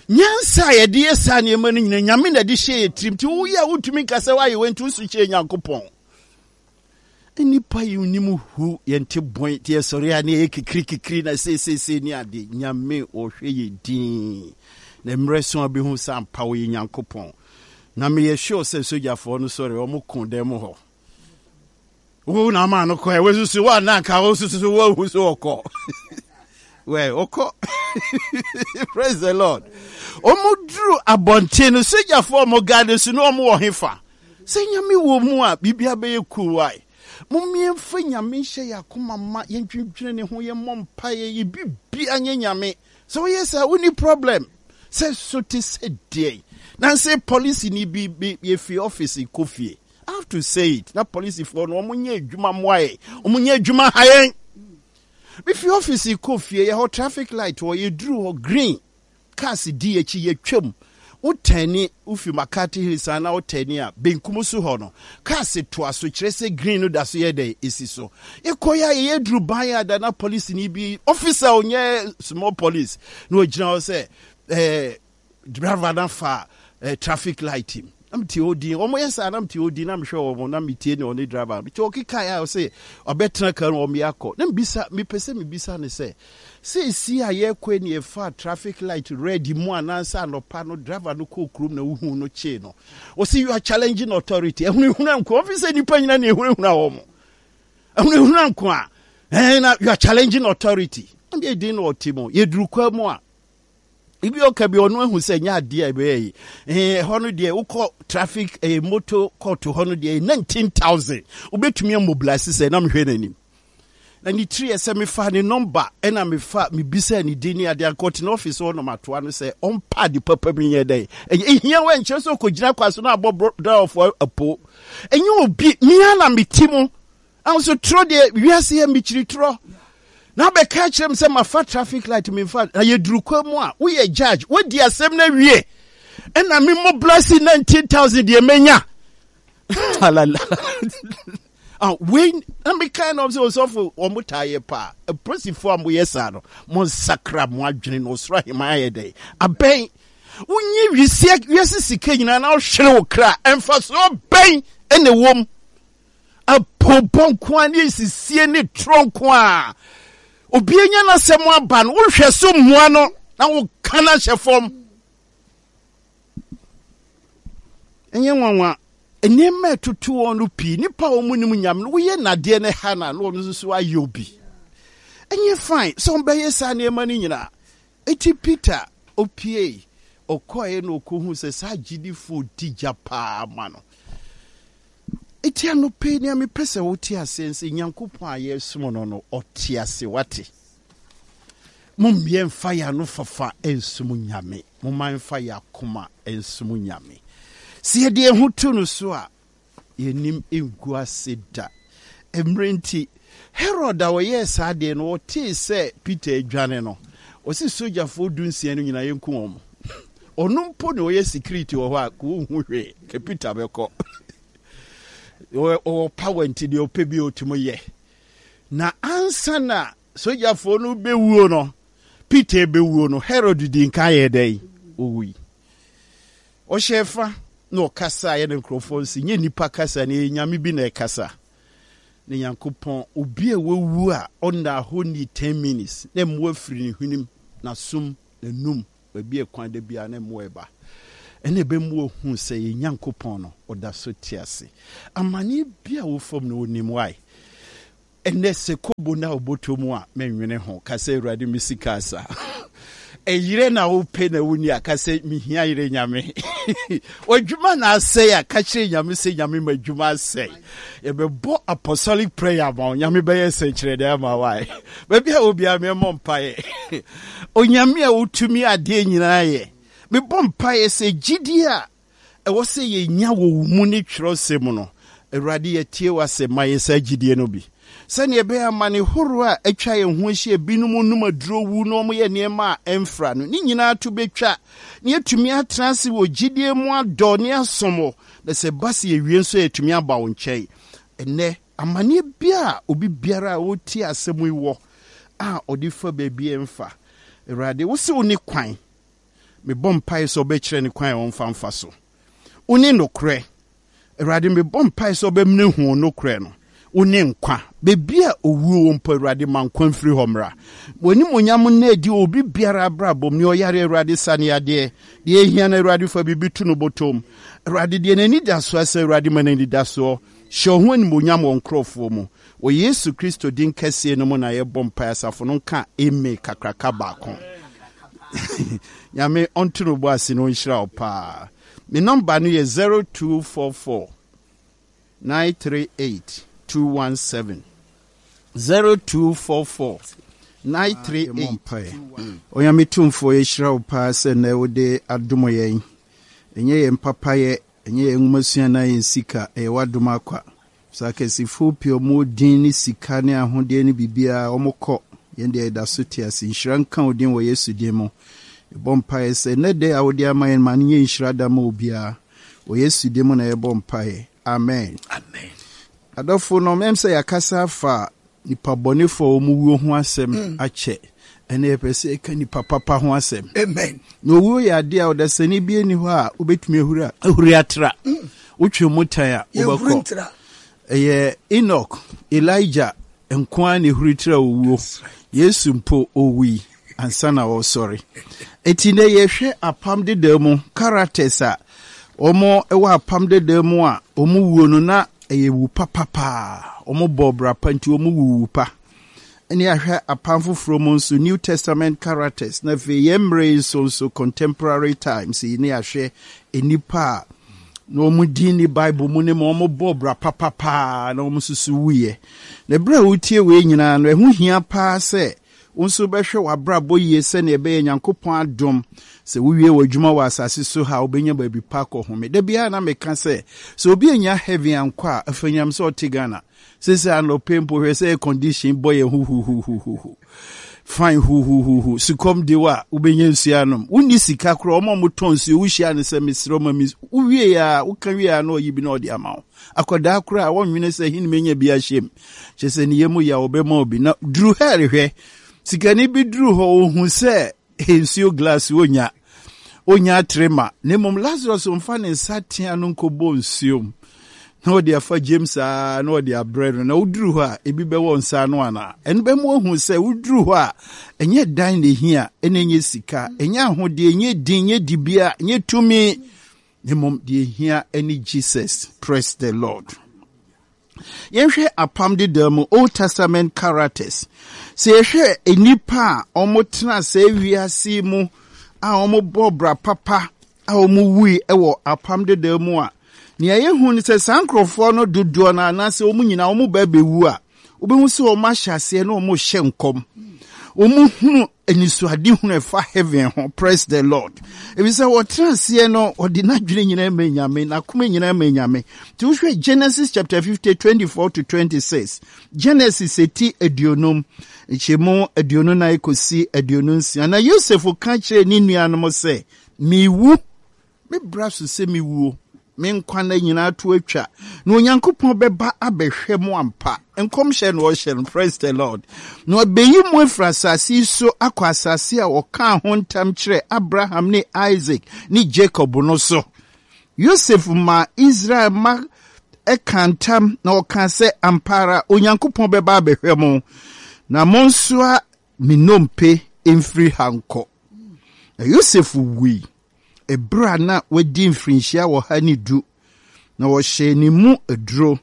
nyansa a yɛde yɛ saa nneɛma no nyina nyame na ɛde hyɛ yɛ tirim nti woyɛ a wontumi nka sɛ woayɛ wei nti woso kyerɛ nyankopɔn Nnipa yi nim hu yɛn te bɔn te yɛsɔre a ne yɛyɛ kikiri kikiri na seeseesei ne ade. Nyame ɔhwɛ yɛ din na mmerɛ so a bɛhu sɛ ampa ɔyɛ Nyankopɔn. Na meyɛ sure sɛ sogyafoɔ no sɔre wɔn ko dan mu hɔ. Wo na ama no kɔ ɛ wosusu wo anaa nka wo susu woahu so ɔkɔ. Wɛ ɔkɔ. Praise the Lord. Wɔn duru abɔnten no sogyafoɔ wɔn gade so ne wɔn wɔ hefa. Sɛ Nyame wɔ mu a, biribia bɛyɛ cool wai? Mom yɛmfa Nyame nhyɛ yɛn akoma ma, yɛndwendwene ne ho, yɛmmɔ mpaeɛ, yɛ bibia nyɛ Nyame. Sɛ woyɛ saa wonni problem. Sɛ so te sɛ deɛn? Nanse policeni bi bi yɛfiri office kɔ fie. I have to say it, na polisifoɔ no wɔn nyɛ adwuma mmoa yɛn, wɔn nyɛ adwuma ha yɛn. Mefiri office kɔ fie, yɛhɔ traffic light hɔ, yɛduru hɔ green. Cars di akyi, yɛtwam. Wo tɛni, wofi McCarthy Hills a na wo tɛni a, benkum so hɔ no, cars toa so, kyerɛ sɛ green no da so yɛ dɛn? Esi so. Yɛkɔ yɛ a yɛyɛ duru ban a da na polisini bi, officer onyɛ small police, na ogyina hɔ sɛ eh, driver no afa eh, traffic light mu. Na mete hɔ din, wɔn yɛ saa na mete hɔ din na mehwɛ wɔn na metie ne ɔne driver. Mete hɔ kekae a ɔsɛ ɔbɛtena car mu wɔn yɛ akɔ. Na mebisa, mepɛ sɛ mebisa no sɛ, Seesei a yɛrekɔ yi na yɛfaa traffic light red mu anaasɛ anɔpa no driver no kɔɔ kurom na wohuu no kyee no. Wɔsi you are challenging authority. Ahunahuna nko. Wɔn fi sɛ nipa nyina na ehunahuna wɔn. Ahunahuna nko a. Ɛn na you are challenging authority. Ɛn deɛ din na ɔte mu. Yɛduru kwa mu a. Ebi ɔka bi ɔno ahu sɛ nyɛ adeɛ a ɛbɛyɛ yi. Ɛn ɛhɔ no deɛ wokɔ traffic ɛyɛ motor court hɔ no deɛ 19,000. Wobɛtumi amobilize sɛ na mehwɛ n'anim. Na ne tiri yɛ sɛ mefaa ne nɔmba ɛna mefa mebisaa ne din ne adeɛ anka ɔte n'ɔfis hɔ nom atoa no sɛ ɔmpa ade papa bi nyɛ dɛn ɛnyɛ ehia wɔ nkyerɛ sɛ ɔkɔgyina kwa so na abɔ drɔfoɔ apo ɛnyɛ obi mea na meti mu ahoso torɔ deɛ wiase yɛ mekyiri torɔ na abɛka kyerɛ m sɛ mafa traffic light memfa na yɛduru kwa mu a woyɛ judge wodi asɛm no awie ɛna me mobilise 19000 deɛ manya Ah, wei na mekae na ɔsɛ ɔsɔfo wɔn taa yɛ paa. Apolisifoɔ a moyɛ saa no, monsakra mo adwene na ɔsoro ahemman ayɛ dɛn? Abɛn. Wonyi wiase wiase sika nyinaa na wohwere wo kra. Mfasoɔ bɛn na ɛwɔ mu? Apobɔ nko ara ne nsisie ne torɔ nko ara. Obi anya n'asɛm aba no, wohwɛ so mmoa no na woka no ahyɛ fam. Ɛnyɛ nwanwa, nneɛma a ɛtoto wɔn no pii, nnipa a wɔn nim nyame no, woyɛ nadeɛ no ha na na wɔn nso so ayɛ obi. Ɛnyɛ fine sɛ wɔbɛyɛ saa nneɛma no nyinaa. Eti Peter opiei, ɔkɔeɛ na ɔkɔhu sɛ saa agyidifoɔ di gya paa ma no. Eti anɔpa yi nea mepɛ sɛ wote aseɛ sɛ Nyankopɔn a yɛresom no no, ɔte ase wate. Mommyɛ mfa yɛn ano fafa nsom Nyame. Momma yɛmfa yɛn akoma nsom Nyame. Sɛ yɛde yɛn ho to no so a, yɛn anim ngu ase da. Mmerɛ nti, Herod a ɔyɛɛ saa adeɛ no, ɔtee sɛ Peter adwane no, ɔse sogyafoɔ dunsia no nyinaa yɛnku wɔn. Ɔno mpo na ɔyɛ security wɔ hɔ a, ka ɔnhu hwee, ka Peter bɛkɔ. Ɔwɔ power nti deɛ ɔpɛ bi ɔtumi yɛ. Na ansa na sogyafoɔ no bɛwuo no, Peter rebɛwuo no, Herod dii nkan yɛɛ dɛn? Ɔwui. Ɔhyɛɛ fa na ɔkasaeɛ na nkurɔfoɔ nse, nyɛ nnipa kasa na ɛyɛ nyame bi na ɛkasa. Na Nyankopɔn, obi a wawu a ɔnnaa hɔ nnii ten minutes na mmoa firi ne hwenem, n'asom, n'anum, baabi a ɛkwan da biara na mmoa reba. Ɛna ɛbɛma wahu sɛ yɛn Nyankopɔn no, ɔda so te ase. Amaneɛ bi a wofam no, ɔnim why. Ɛnnɛ sɛ kobo na wobɔtɔ mu a, mennwene ho. Ka sɛ, Awurade, me sika asa. Ɛyerɛ na wopɛ na wonni a, ka sɛ, Mehia yere, Nyame. W'adwuma na asɛe a, ka kyerɛ Nyame sɛ, Nyame, m'adwuma asɛe. Yɛbɛbɔ apostolic prayer ama wo. Nyame bɛyɛ sɛnkyerɛnne ama wo. Ae. Baabi a wɔ biara, mɛmmɔ mpaeɛ. Onyame a wotumi adeɛ nyinaa yɛ, mebɔ mpaeɛ sɛ gyidie a ɛwɔ sɛ yɛnya wɔ wo mu ne twerɛsɛm mu no, Awurade, yɛtie w'asɛm, ma yɛn saa gyidie no bi. Sɛdeɛ ɛbɛyɛ amane horoɔ a atwa yɛn ho ahyia, binom nom aduro wu na wɔyɛ nneɛma a ɛmfra no, ne nyinaa to bɛtwa, na yɛatumi atena ase wɔ gyidie mu adɔ ne asom wo, na sɛ ɛba sɛ yɛwie nso a, yɛatumi aba wo nkyɛn. Ɛnnɛ, amaneɛ biara a obi biara a ɔretie asɛm yi wɔ a ɔde fa baabi a ɛmfa, Awurade, wo se wo ne kwan, Mebɔ mpaeɛ sɛ wobɛkyerɛ no kwan a ɔmfa mfa so. Wone nokorɛ. Awurade, mebɔ mpaeɛ sɛ wobɛmene hu wo nokorɛ no. Wone nkwa. Baabi a owuo wɔ mpo, Awurade, ma nkwa mfiri hɔ mmra. W'animuonyam nna adi wɔ obi biara abrabɔ mu. Nea ɔyare, Awurade, sa no yadeɛ. Deɛ ahia no, Awurade, fa biribi to no bɔtɔ mu. Awurade, deɛ n'anidasoɔ asa, Awurade, ma no anidasoɔ. Hyɛ wo ho animuonyam wɔ nkurɔfoɔ mu. Wɔ Yesu Kristo din kɛseɛ no mu na yɛbɔ mpaeɛ asafo no nka amen kakraka baako. Nyame ɔnto no bo ase na ɔnhyira wo paa. Me nɔmba no yɛ 0244 938 217. 0244 938 217. Onyame Tumfoɔ yɛhyira wo paa sɛ nnɛ wode adom yɛn. Ɛnyɛ yɛn papayɛ, ɛnyɛ yɛn nwomasua anaa yɛn sika, ɛyɛ w'adom akwa. Sɛ akɛsefoɔ pii a wɔwɔ din ne sika ne ahodeɛ ne biribiara, wɔkɔ, yɛn deɛ yɛda so te ase. Nhyira nka wo din wɔ Yesu din mu. Yɛbɔ mpaeɛ sɛ nnɛ da yi a wode ama yɛn ma no nyɛ nhyira da ma obiara. Wɔ Yesu din mu na yɛbɔ mpaeɛ. Amen. Amen. Adɔfo no, mɛm sɛ yɛakasa afa nipa bɔnefoɔ a wɔn wuo ho asɛm mm. akyɛ. Ɛnna yɛpɛ sɛ yɛka nipa papa ho asɛm. Amen. Na owuo yɛ adeɛ a ɔdasani bi nni hɔ a wobɛtumi ahuri ahuri atra. Mm. Wotwe mu tan a wobɛkɔ. Ɛyɛ Enoch, Elijah nko ara na ehuri tra owuo. Yesu mpo owui ansa na ɔresɔre. Eti na yɛhwɛ apam dedaa mu characters a wɔn wɔ apam dedaa mu a wɔn wuo no na ɛyɛ wu papa paa. Wɔn bɔ bra pa nti wɔn wuwu pa. Ɛne ahwɛ apam foforɔ mu nso New Testament characters na afei yɛn mmerɛ yi nso nso contemporary times yi ne ahwɛ nnipa a na wɔn din ne Bible mu ne ma wɔn bɔ bra papa paa na wɔn nso so wuiɛ. Na berɛ a wotie wei nyinaa no ɛho hia paa sɛ wo nso bɛhwɛ w'abrabɔ yie sɛnea ɛbɛyɛ Nyankopɔn adom sɛ wowie w'adwuma wɔ asase so ha a wobɛnya baabi pa akɔhome. Da biara na meka sɛ sɛ obi anya heaven ankɔ a afanyam sɛ ɔte Ghana. Sese anɔpa mpo hwɛ sɛ air condition bɔ yɛn huhuhuhuhu. Fine huhuhuhu. Sukɔm de wo a, wobɛnya nsuo anom. Wonni sika koraa, wɔn a wɔtɔn nsuo, wohyia no sɛ mesrɛ ma me wowie a, woka wie a na ɔyi bi na ɔde ama wo. Akwadaa koraa, wɔnwene sɛ hin menya bi ahyɛ mu. Kyerɛ sɛ ne yam yɛ a wɔbɛma wo bi. Na duru hell hwɛ. Sikani bi duru hɔ, ɔhu sɛ nsuo glass onya onya atere ma na mmom Lazarus mfa ne nsa tea no nkɔbɔ nsuo mu na ɔde afa James aa na ɔde abrɛ no na woduru hɔ a ebi bɛwɔ nsa ano anaa ɛno bɛma wahu sɛ woduru hɔ a ɛnyɛ dan na ehia ɛna ɛnyɛ sika ɛnyɛ ahodeɛ ɛnyɛ din ɛnyɛ dibea ɛnyɛ tumi na mmom deɛ ehia ɛne Jesus. Praise the Lord. Yɛnhwɛ Apam Dedaw mu, Old Testament characters. Sɛ yɛhwɛ nnipa a wɔtena saa wiase yi mu a wɔbɔ bra papa a wɔwui wɔ Apam Dedaw mu a, nea yɛhu ne sɛ saa nkurɔfoɔ no dodoɔ no anaasɛ wɔn nyinaa wɔn ba bɛwu a, wobɛhu sɛ wɔn ahyɛ aseɛ na wɔrehyɛ nkɔm. Wɔhunu anisoadehunu ɛfa heaven ho. Praise the Lord. Efisɛ wɔtena aseɛ no, ɔde n'adwene nyinaa ma Nyame, n'akoma nyinaa ma Nyame. Nti wohwɛ Genesis chapter 50, 24 to 26. Genesis eti aduonum, nkyɛmu 24 kɔsi 26. Na Yosef ka kyerɛɛ ne nuanom sɛ, Mewu. Me bra so sɛ mewuo, me nkwa nna nyinaa to atwa, na Onyankopɔn bɛba abɛhwɛ mo ampa. Nkɔmhyɛ na ɔhyɛ no, praise the Lord. Na ɔbɛyi mo afiri asase yi so akɔ asase a ɔkaa ho ntam kyerɛɛ Abraham ne Isaac ne Jacob no so. Yosef maa Israel mma. kaa ntam na ɔkaa sɛ, Ampa ara Onyankopɔn bɛba abɛhwɛ mo, na monsoa me nnompe mfiri ha nkɔ. Na Yosef wui ɛberɛ a na wadi mfirinhyia 110, na wɔhyɛɛ ne mu aduro,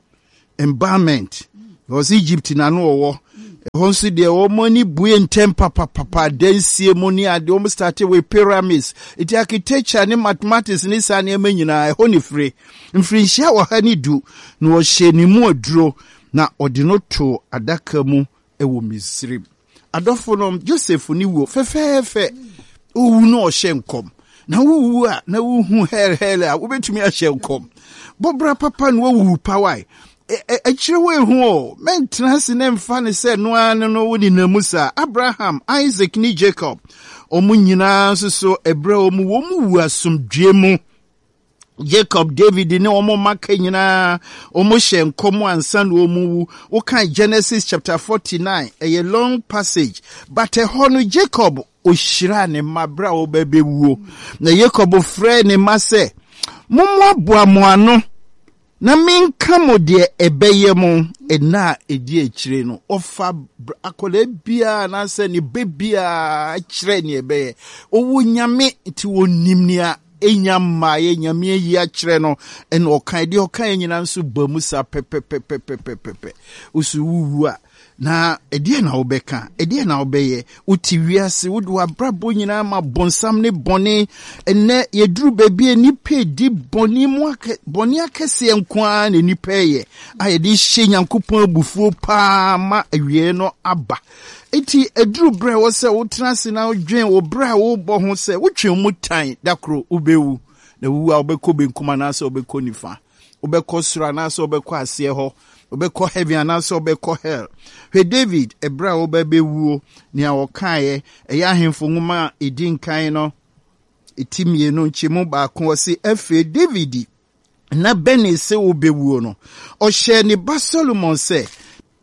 embalmment, because Egypt na no ɔwɔ. Ɛhɔ nso deɛ wɔn ani bue ntɛm papapapa, adansie mu ne adeɛ, wɔn starte with pyramids, nti architecture ne mathematics ne saa nneɛma nyinaa ɛhɔ ne fire. Mfirinhyia 110 na wɔhyɛɛ ne mu aduro, na ɔde no too adaka mu wɔ Misraim. Adɔfo nom, Joseph ne wuo fɛfɛɛfɛ. Owu no ɔhyɛ nkɔm. Na wowu a na wohu hell hell a wobɛtumi ahyɛ nkɔm. Bɔbra papa na wowu pawae. Akyire wo ehu o, mɛntena ase na mfa ne sɛ no ara no no wo nenam mu saa. Abraham, Isaac ne Jacob, wɔn nyinaa nso so ɛberɛ wɔn wɔn wu asomdwie mu. Jacob, David ne wɔn mma ka nyinaa, wɔn hyɛ nkɔm ansa na wɔn wu. Wokan Genesis chapter 49, ɛyɛ long passage, but ɛhɔ no Jacob ohyiraa ne mma bere a wɔbɛbɛwuo. Na Jacob frɛɛ ne mma sɛ, Mommoaboa mo ano Na menka mo deɛ ɛbɛyɛ mo nna a ɛdi akyire no. Ɔfa akwadaa biara anaasɛ ne ba biara kyerɛ nea ɛbɛyɛ. Ɔwɔ Nyame nti ɔnim nea ɛnya mmaeɛ, Nyame ayi akyerɛ no, ɛna ɔkae. Deɛ ɔkaeɛ nyinaa nso ba mu saa pɛpɛpɛpɛpɛpɛ. Wo so wowu a, Na ɛdeɛn na wobɛka? Ɛdeɛn na wobɛyɛ? Wote wiase, wode w'abrabɔ nyinaa ma bonsam ne bɔne. Ɛnnɛ yɛduru baabi a nnipa redi bɔne mu akɛ, bɔne akɛseɛ nko ara na nnipa reyɛ a yɛde hyɛ Nyankopɔn abufuo paa ma awieɛ no aba. Enti ɛduru berɛ a ɛwɔ sɛ wotena ase na wodwen wo berɛ a wobɔ ho sɛ wotwe wo mu tan da koro wobɛwu. Na wuwu a wobɛkɔ benkum anaasɛ wobɛkɔ nifa. Wobɛkɔ soro anaasɛ wobɛkɔ aseɛ hɔ. Wobɛkɔ heaven anaasɛ wobɛkɔ hell. Hwɛ David, ɛberɛ a ɔreba bɛwuo, nea ɔkaeɛ, ɛyɛ Ahemfo nwoma a ɛdi nkan no, ti mmienu, nkyɛmu baako, ɔse, Afei David na bɛnee sɛ ɔrebɛwuo no, ɔhyɛɛ ne ba Solomon sɛ,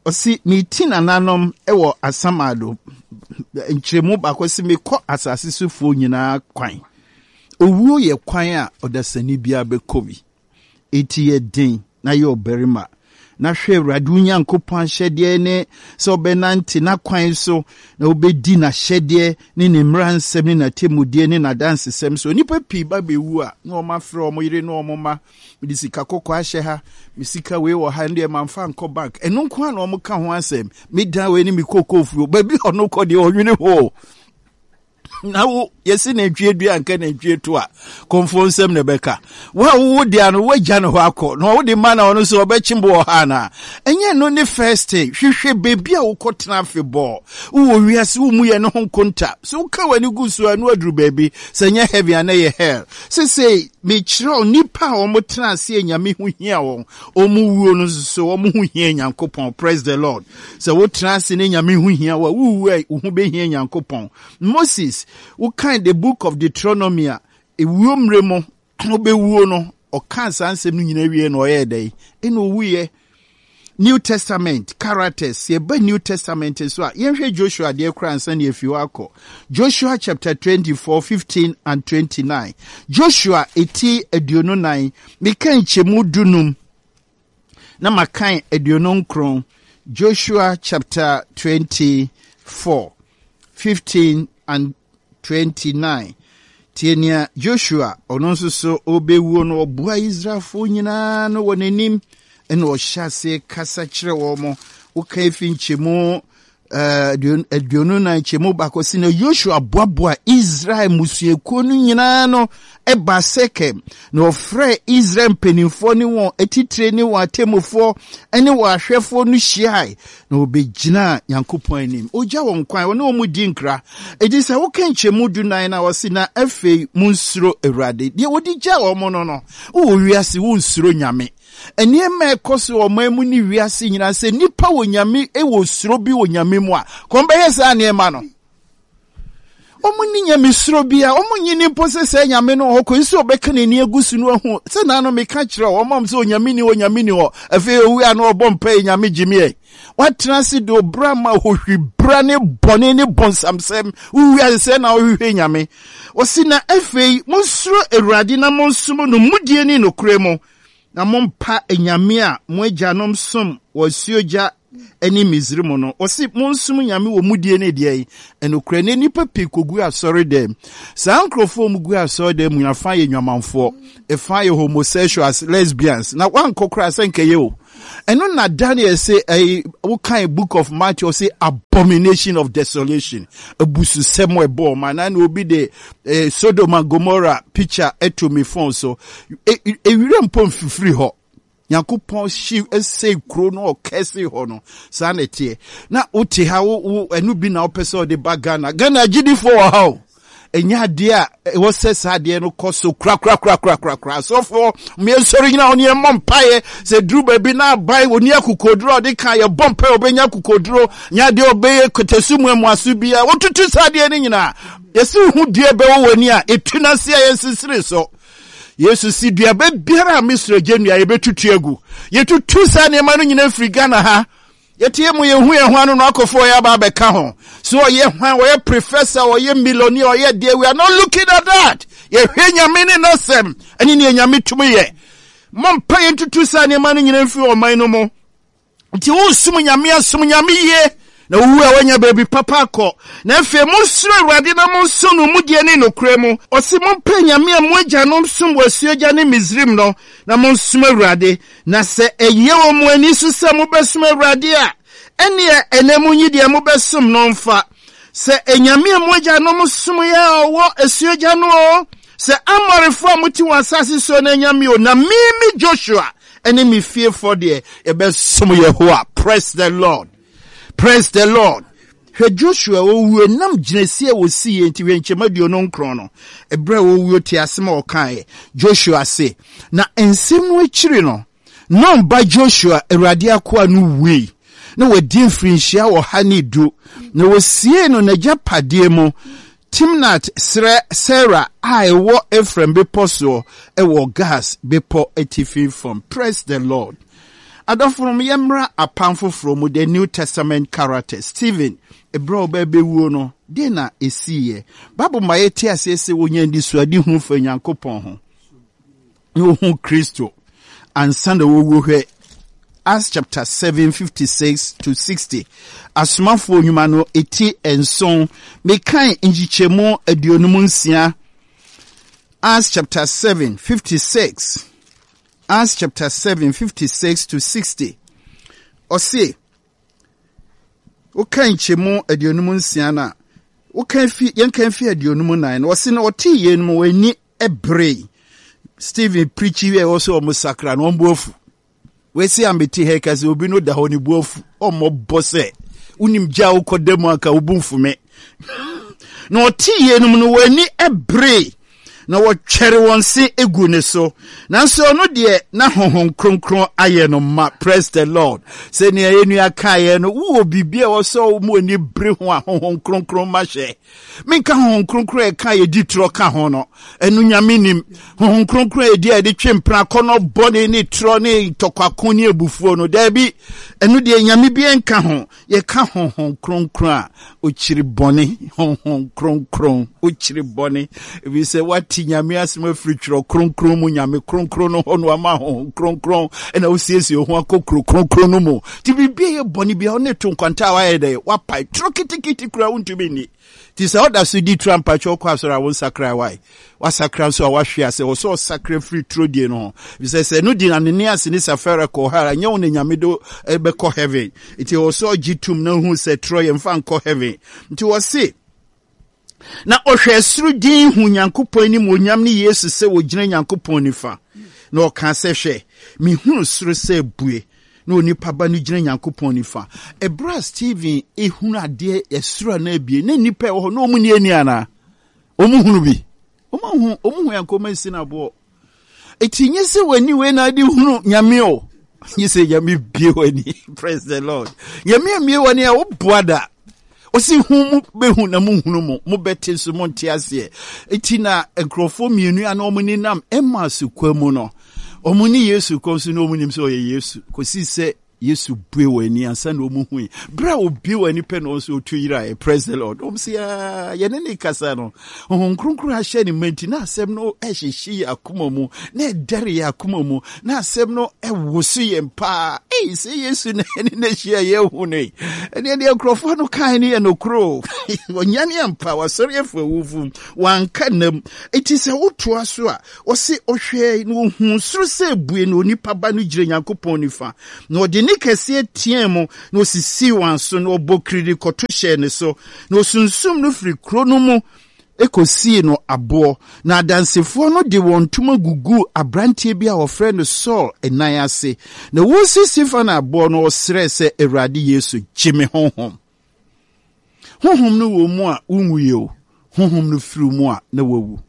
Ɔse meti nananom wɔ asamado nkyerɛmu baako ɔse mekɔ asase sofoɔ nyinaa kwan. Owuo yɛ kwan a ɔdasani biara bɛkɔ bi. Enti yɛ den na yɛ ɔbarima, na hwɛ Awurade wo Nyankopɔn ahyɛdeɛ ne sɛ wobɛnante n'akwan so na wobɛdi n'ahyɛdeɛ ne ne mmara nsɛm ne n'atemmudeɛ ne n'adansesɛm so. Nnipa pii ba bɛwu a, na wɔafrɛ wɔn yere ne wɔn mma mede sika kɔkɔɔ ahyɛ ha, me sika wei wɔ ha, ɛno deɛ mamfa nkɔ bank. Ɛno nko ara na wɔka ho asɛm. Me dan wei ne me kokoo fuo. Baabi a ɔno kɔ deɛ ɔnwene ho. Na wo yɛsi nantwie dua nka nantwie to a kɔmfoɔ nsɛm na ɛbɛka. Wo a wowo deɛ no woagya ne hɔ akɔ na ɔwo de ma na ɔno nso ɔbɛkye bo wɔ ha anaa? Ɛnyɛ no ne first thing. Hwehwɛ baabi a wokɔtena afebɔɔ. Wowɔ wiase wo mu yɛ ne ho nkonta. So woka w'ani gu so a na waduru baabi. Sɛ ɛnyɛ heaven a na ɛyɛ hell. Sesei mekyerɛw nnipa a wɔn tena ase a Nyame ho hia wɔn, wɔn wuo no nso so wɔn ho hia Nyankopɔn. Praise the Lord. Sɛ wotena ase ne Nyame ho hia wo a, wowu a wo ho behia Nyankopɔn. Moses, wokan the book of Deuteronomy a, ewuo mmerɛ mu ɔbɛwuo no, ɔkaa saa nsɛm no nyinaa wie na ɔyɛɛ dɛn? Ɛna owuiɛ. New Testament characters, yɛba New Testament nso a, yɛnhwɛ Joshua deɛ koraa ansa na yɛafi hɔ akɔ. Joshua chapter 24, 15 and 29. Joshua eti 24, meka nkyɛmu dunum na makan 29. Joshua chapter 24, 15 and 29. Tie nea Joshua, ɔno nso so ɔrebɛwuo no, ɔboa Israelfoɔ nyinaa no wɔ n'anim, ɛna ɔhyɛ aseɛ kasa kyerɛ wɔn. Woka efi nkyɛmu 24 nkyɛmu baako si na Joshua boaboa Israel mmusuakuo no nyinaa no ɛbaa Sekem, na ɔfrɛɛ Israel mpanimfoɔ ne wɔn atitire ne wɔn atemmufoɔ ne wɔn ahwɛfoɔ no hyiae, na wɔbɛgyinaa Nyankopɔn anim. Ɔgya wɔn kwan, ɔne wɔn di nkra. Enti sɛ woka nkyɛmu dunan no a, ɔse, na afei monsuro Awurade. Deɛ wɔde gyaa wɔn no no, wowɔ wiase, wonsuro Nyame. Nneɛma a ɛkɔ so wɔ ɔman mu ne wiase nyinaa, sɛ nnipa wɔ Nyame, wɔ suro bi wɔ Nyame mu a, kɔn bɛyɛ saa nneɛma no. Wɔn ni nyamesuro bia, wɔn nyi ni mpo sɛ sɛ nyame no wɔ hɔ kɔsi sɛ ɔbɛka n'ani agu so no ahu sɛ naano meka kyerɛ wɔn am sɛ onyame ni hɔ, onyame ni hɔ. Afei owu a na ɔbɔ mpa yi nyame gye me ɛ. Watena ase de obra ma hohwi bra ne bɔne ne bonsamsɛm. Wowu ase sɛ na ɔhwehwɛ nyame. Ɔsi na afei monsuro Awurade na monsom no mudie ne nokorɛ mu. Na mompa anyame a mo agyanom som wɔ asuogya ne Misraim no. Ɔse monsom Nyame wɔ mudie ne deɛn? Ɛnokorɛ, nnɛ nnipa pii kɔgu asɔredɛm. Saa nkorɔfoɔ a wɔgu asɔredɛm mu no, afã yɛ nnwamanfoɔ, ɛfã yɛ homosexuals, lesbians, na woankɔ koraa sɛ nkɛyɛ o. Ɛno na Daniel se, ɛyi, wokan book of Matthew, ɔse abomination of desolation, abususɛm a ɛbɔ ɔman, na na obi de eh, Sodom and Gomorrah picture ɛto me phone so. Ewira mpo mfifiri hɔ. Nyankopɔn hye sɛe kuro no ɔkɛse hɔ no saa na ɛteɛ na wote ha wo wo ɛno bi na wopɛ sɛ ɔde ba Ghana. Ghana agyidifoɔ wɔ ha o. Ɛnyɛ adeɛ a ɛwɔ sɛ saa adeɛ no kɔ so korakorakorakorakora. Asɔfoɔ mmiɛnsɔre nyina wɔn yɛn mmɔ mpaeɛ sɛ duru baabi na aban wɔn ni akokoduro a ɔde ka yɛbɔ mpaeɛ ɔbɛnya akokoduro nyɛ adeɛ ɔbɛyɛ kɔtɛsu mu ɛmoaso biara wɔtutu saa adeɛ no nyinaa yɛsi ho dua bɛwɔ wɔn ani a ɛtu n'ase a yɛnsesere so. Yesu si duaba biara a me soro agya nnua yɛbɛtutu agu. Yɛtutu saa nneɛma no nyinaa firi Ghana ha. Yɛteɛ mu yɛhu yɛn ho ano no akɔfo ɔyɛ aba abɛka ho. So ɔyɛ hwan, ɔyɛ professor, ɔyɛ millionaire, ɔyɛ deɛ, we are not looking at that. Yɛhwɛ Nyame ne n'asɛm ɛne nea Nyame tumi yɛ. Mompa yɛntutu saa nneɛma no nyinaa mfiri ɔman no mu. Nti woresom Nyame a, som Nyame yie, na wowu a woanya baabi papa akɔ. Na afei monsuro Awurade na monsom no mudie ne nokorɛ mu. Ɔse mompɛ anyame a mo agyanom som wɔ asuogya ne Misrim no, na monsom Awurade. Na sɛ ɛyɛ wɔ mo ani so sɛ mobɛsom Awurade a, ɛnneɛ ɛnnɛ monyi deɛ mobɛsom no mfa, sɛ anyame a mo agyanom someɛ a ɔwɔ asuogya no oo, sɛ Amorifoɔ a mote wɔn asase soɔ no anyame oo, na me, me Joshua, ne me fiefoɔ deɛ, yɛbɛsom Yehowa. Praise the Lord. Praise the Lord. Hwɛ Joshua owuo nam gyinasie a wɔsiiɛ nti, hwɛ nkyɛmu 29 no, ɛberɛ a ɔwuo te asɛm a ɔkaeɛ. Joshua se, na nsɛm no akyiri no, Nun ba Joshua, Awurade akoa no wui, na wadi mfirinhyia 110, na wɔsiee no n'agyapadeɛ mu, Timnat serɛ Sera a ɛwɔ Efraim bepɔ soɔ wɔ Gaas bepɔ atifi fam. Praise the Lord. Adɔfonom, yɛmmra Apam Foforɔ mu, the New Testament character, Stephen, ɛberɛ a ɔbaa bɛwuo no, deɛn na ɛsiiɛ? Bible ma yɛte aseɛ sɛ ɔnya anisoadehunu fa Nyankopɔn ho. Na ohuu Kristo ansa na ɔrewu hwɛ Acts chapter 7 56 to 60 Asomafoɔ nnwuma no eti nson mekan nkyekyɛmu 56 Acts chapter 7 56 Acts chapter 7 56 to 60 ɔse woka nkyɛmu 56 no a woka fi yɛnka fi 54 no ɔse na ɔtee yeinom wɔn ani Ɛberee Stephen preachi wie ɛwɔ sɛ wɔn sakra no wɔn bo afu. Wesi a mete ha ka sɛ obi no da hɔ ne bo afu. Ɔmmɔ bɔ sɛ wonim gya a wokɔ da mu anka wo bo mfu me. Na ɔte yeinom no wɔn ani ɛberee na wɔtwɛre wɔn se egu ne so. Nanso ɔno deɛ na Honhom Kronkron ayɛ no ma. Praise the Lord. Sɛnea yɛn nua kaeɛ no, wowɔ biribi a ɛwɔ sɛ wɔn ani bere ho a Honhom Kronkron ma hyɛ. Menka Honhom Kronkron a ɛka a yɛdi torɔ ka ho no, ɛno Nyame nim. Honhom Kronkron a ɛdi a yɛde twe mpena akɔnnɔ bɔne ne torɔ ne ntɔkwako ne abufuo no, daabi, ɛno deɛ Nyame bi nka ho. Yɛka Honhom Kronkron a, ɔkyiri bɔne. Honhom Kronkron, ɔkyiri bɔne. Ɛfiri sɛ woate Nyame asɛm afiri Twerɛ Kronkron mu, Nyame Kronkron no hɔ no ama Honhom Kronkron ɛna wosiesie wo ho akɔ kuro kronkron no mu. Nti biribi a ɛyɛ bɔne biara ɔne to nkwanta a wayɛ dɛ wapae turo kitikiti koraa wontumi nni. Nti sɛ ɔda so di turo ampakyɛ ɔkɔ asɔre a wonsakra wae. Wasakra nso a wahwe ase wɔ sɛ ɔsakra firi turo die no ho. Efisɛ sɛ ɛno di Ananias ne Safira kɔɔ hell a ɛnyɛ wo na Nyame de bɛkɔ heaven. Nti ɛwɔ sɛ ɔgye tom na ohu sɛ turo yɛmfa nkɔ heaven. Nti wɔse Na ɔhwɛɛ soro dinn huu Nyankopɔn animuonyam ne Yesu sɛ ɔgyina Nyankopɔn nifa. Na ɔkaa sɛ, Hwɛ, mehunu soro sɛ abue, na onipa Ba no gyina Nyankopɔn nifa. Ɛberɛ a Stephen hunu adeɛ ɛsoro a na abue, na nnipa ɛwɔ hɔ, na wɔn nni ani anaa? Wɔn hunu bi? Wɔn ahu, wɔn hu yɛn kɔn asi no aboɔ. Eti nye sɛ w'ani wei na ade hunu Nyame o. Nye sɛ Nyame bie w'ani. Praise the Lord. Nyame amie w'ani a woboa da. Ɔsi hu mu bɛhu na mo hunu mu, mo bɛte nso mo nte aseɛ. Eti na nkurɔfoɔ mmienu a na wɔn nenam Emmaus kwa mu no, wɔn ne Yesu kɔ nso na wɔn nim sɛ ɔyɛ Yesu. Kɔsi sɛ. Yesu bue wɔn ani ansa na wɔn hui. Berɛ a obue wɔn ani pɛ na wɔn nso wɔtu yeraeɛ. Praise the Lord. Wɔn sɛ aa yɛne ne kasa no. Honhom Kronkron ahyɛ ne ma nti na asɛm no ɛhyehye yɛn akoma mu, na ɛdɛre yɛn akoma mu, na asɛm no ɛwoso yɛn paa. Ei, sɛ Yesu na ɛne no ahyia yɛhu no yi. Ɛneɛ deɛ nkurɔfoɔ no kae no yɛ nokorɛ o. Ɔnyane ampa, wasɔre afiri awufo mu, wanka nnam. Enti sɛ wotoa so a, Ɔse ɔhwɛɛe na ohuu soro sɛ abue na onipa ba no gyina Nyankopɔn nifa. Na ɔde nne kɛseɛ teɛɛ mu na osisii wɔn aso na ɔbɔ kiriri kɔto hyɛɛ ne so. Na osunsum no firi kuro no mu kɔsii no aboɔ. Na adansefoɔ no de wɔn ntoma guguu aberanteɛ bi a wɔfrɛ no Saul nan ase. Na wɔresi Stefano aboɔ no, ɔsrɛɛ sɛ, Awurade Yesu, gye me honhom. Honhom no wɔ mu a wonwui o, honhom no firi mu a na wawu.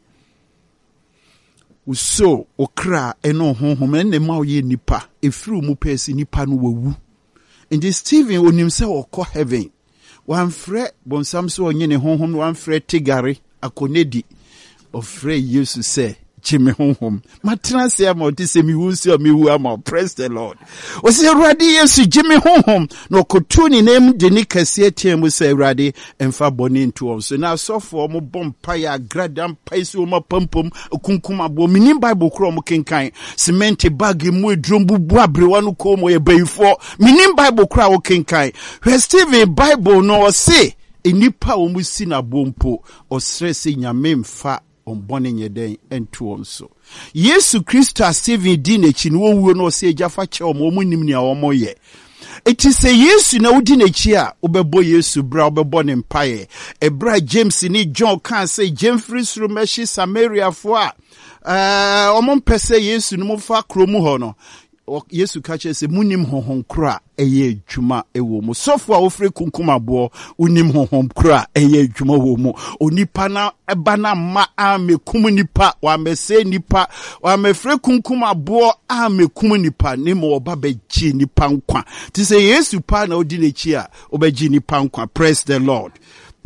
Wo soul, wo kra ne wo honhom ɛna ɛma woyɛ nipa. Ɛfiri wo mu pɛɛ sɛ nipa no wawu. Nti Stephen onim sɛ ɔkɔ heaven. Wamfrɛ bonsam sɛ ɔnye ne honhom no, wamfrɛ Tigare akɔnedi. Ɔfrɛ Yesu sɛ gye me honhom. Matena ase ama wo te sɛ mewu nso a mewu ama wo. Praise the Lord. Ɔsɛ Awurade Yesu gye me honhom. Na ɔkoto ne nan mu de ne kɛseɛ teɛ mu sɛ Awurade mfa bɔne nto wɔn so. Na asɔfoɔ wɔn bɔ mpaeɛ agrada mpaeɛ si wɔn apampam akunkum aboɔ. Menim Bible korɔ wɔn kenkan. Cement bag mu aduro bubu aberewa no kɔn mu ɔyɛ bayifoɔ. Menim Bible korɔ a wɔkenkan. Hwɛ Stephen Bible no ɔse nnipa a wɔn si no aboɔ mpo ɔsrɛ sɛ Nyame mfa wɔn bɔne nyɛ dɛn nto wɔn so. Yesu Kristo a Stephen di n'akyi no, owuo no ɔsɛ agya fa kyɛ wɔn, wɔn nnim nea wɔn yɛ. Eti sɛ Yesu na wodi n'akyi a, wobɛbɔ Yesu bra, wobɛbɔ ne mpaeɛ. Ɛberɛ a James ne John kaa sɛ gya mfiri soro mmɛhye Samariafoɔ a ɛɛ wɔn mpɛ sɛ Yesu no mo fa kuro mu hɔ no, Yesu ka kyerɛ sɛ munim honhom koro a ɛyɛ adwuma wɔ mu. Sɔfo a wofiri kunkum aboɔ, wonim honhom koro a ɛyɛ adwuma wɔ mu. Onipa na ɛba na mma ammɛkum nipa, wammɛsɛe nipa, wammɛfrɛ kunkum aboɔ ammɛkum nipa, ne ma ɔba bɛgye nipa nkwa. Te sɛ Yesu paa na odi n'akyi a, ɔbɛgye nipa nkwa. Praise the Lord.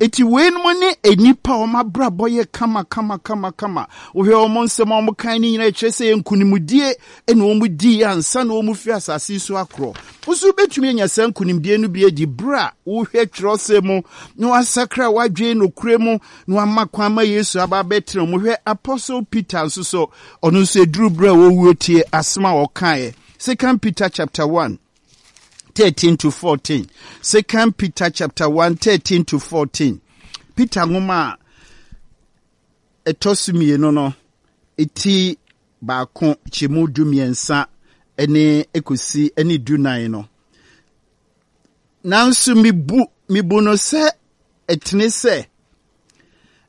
Eti weinom ne nnipa a wɔn abrabɔ yɛ kama kama kama kama. Wohwɛ wɔn nsɛm a wɔkan ne nyinaa kyerɛ sɛ nkonimdie na wɔn dii ansa na wɔn firi asase so akorɔ. Wo nso wobɛtumi anya saa nkonimdie no bi adi berɛ a wohwɛ twerɛsɛm mu na wasakra w'adwene nokorɛ mu na wama kwan ma Yesu aba abɛtena mu. Hwɛ Apostle Peter nso so, ɔno nso ɛduru berɛ a wɔwuo tie asɛm a ɔkaeɛ. Second Peter chapter 1 13 to 14. Second Peter chapter 1 13 to 14. Peter nwoma a ɛtɔ so mmienu no ti baako kyɛmu dumiɛnsa ne ekosi ne dunan no. Nanso mebu mebu no sɛ ɛtene sɛ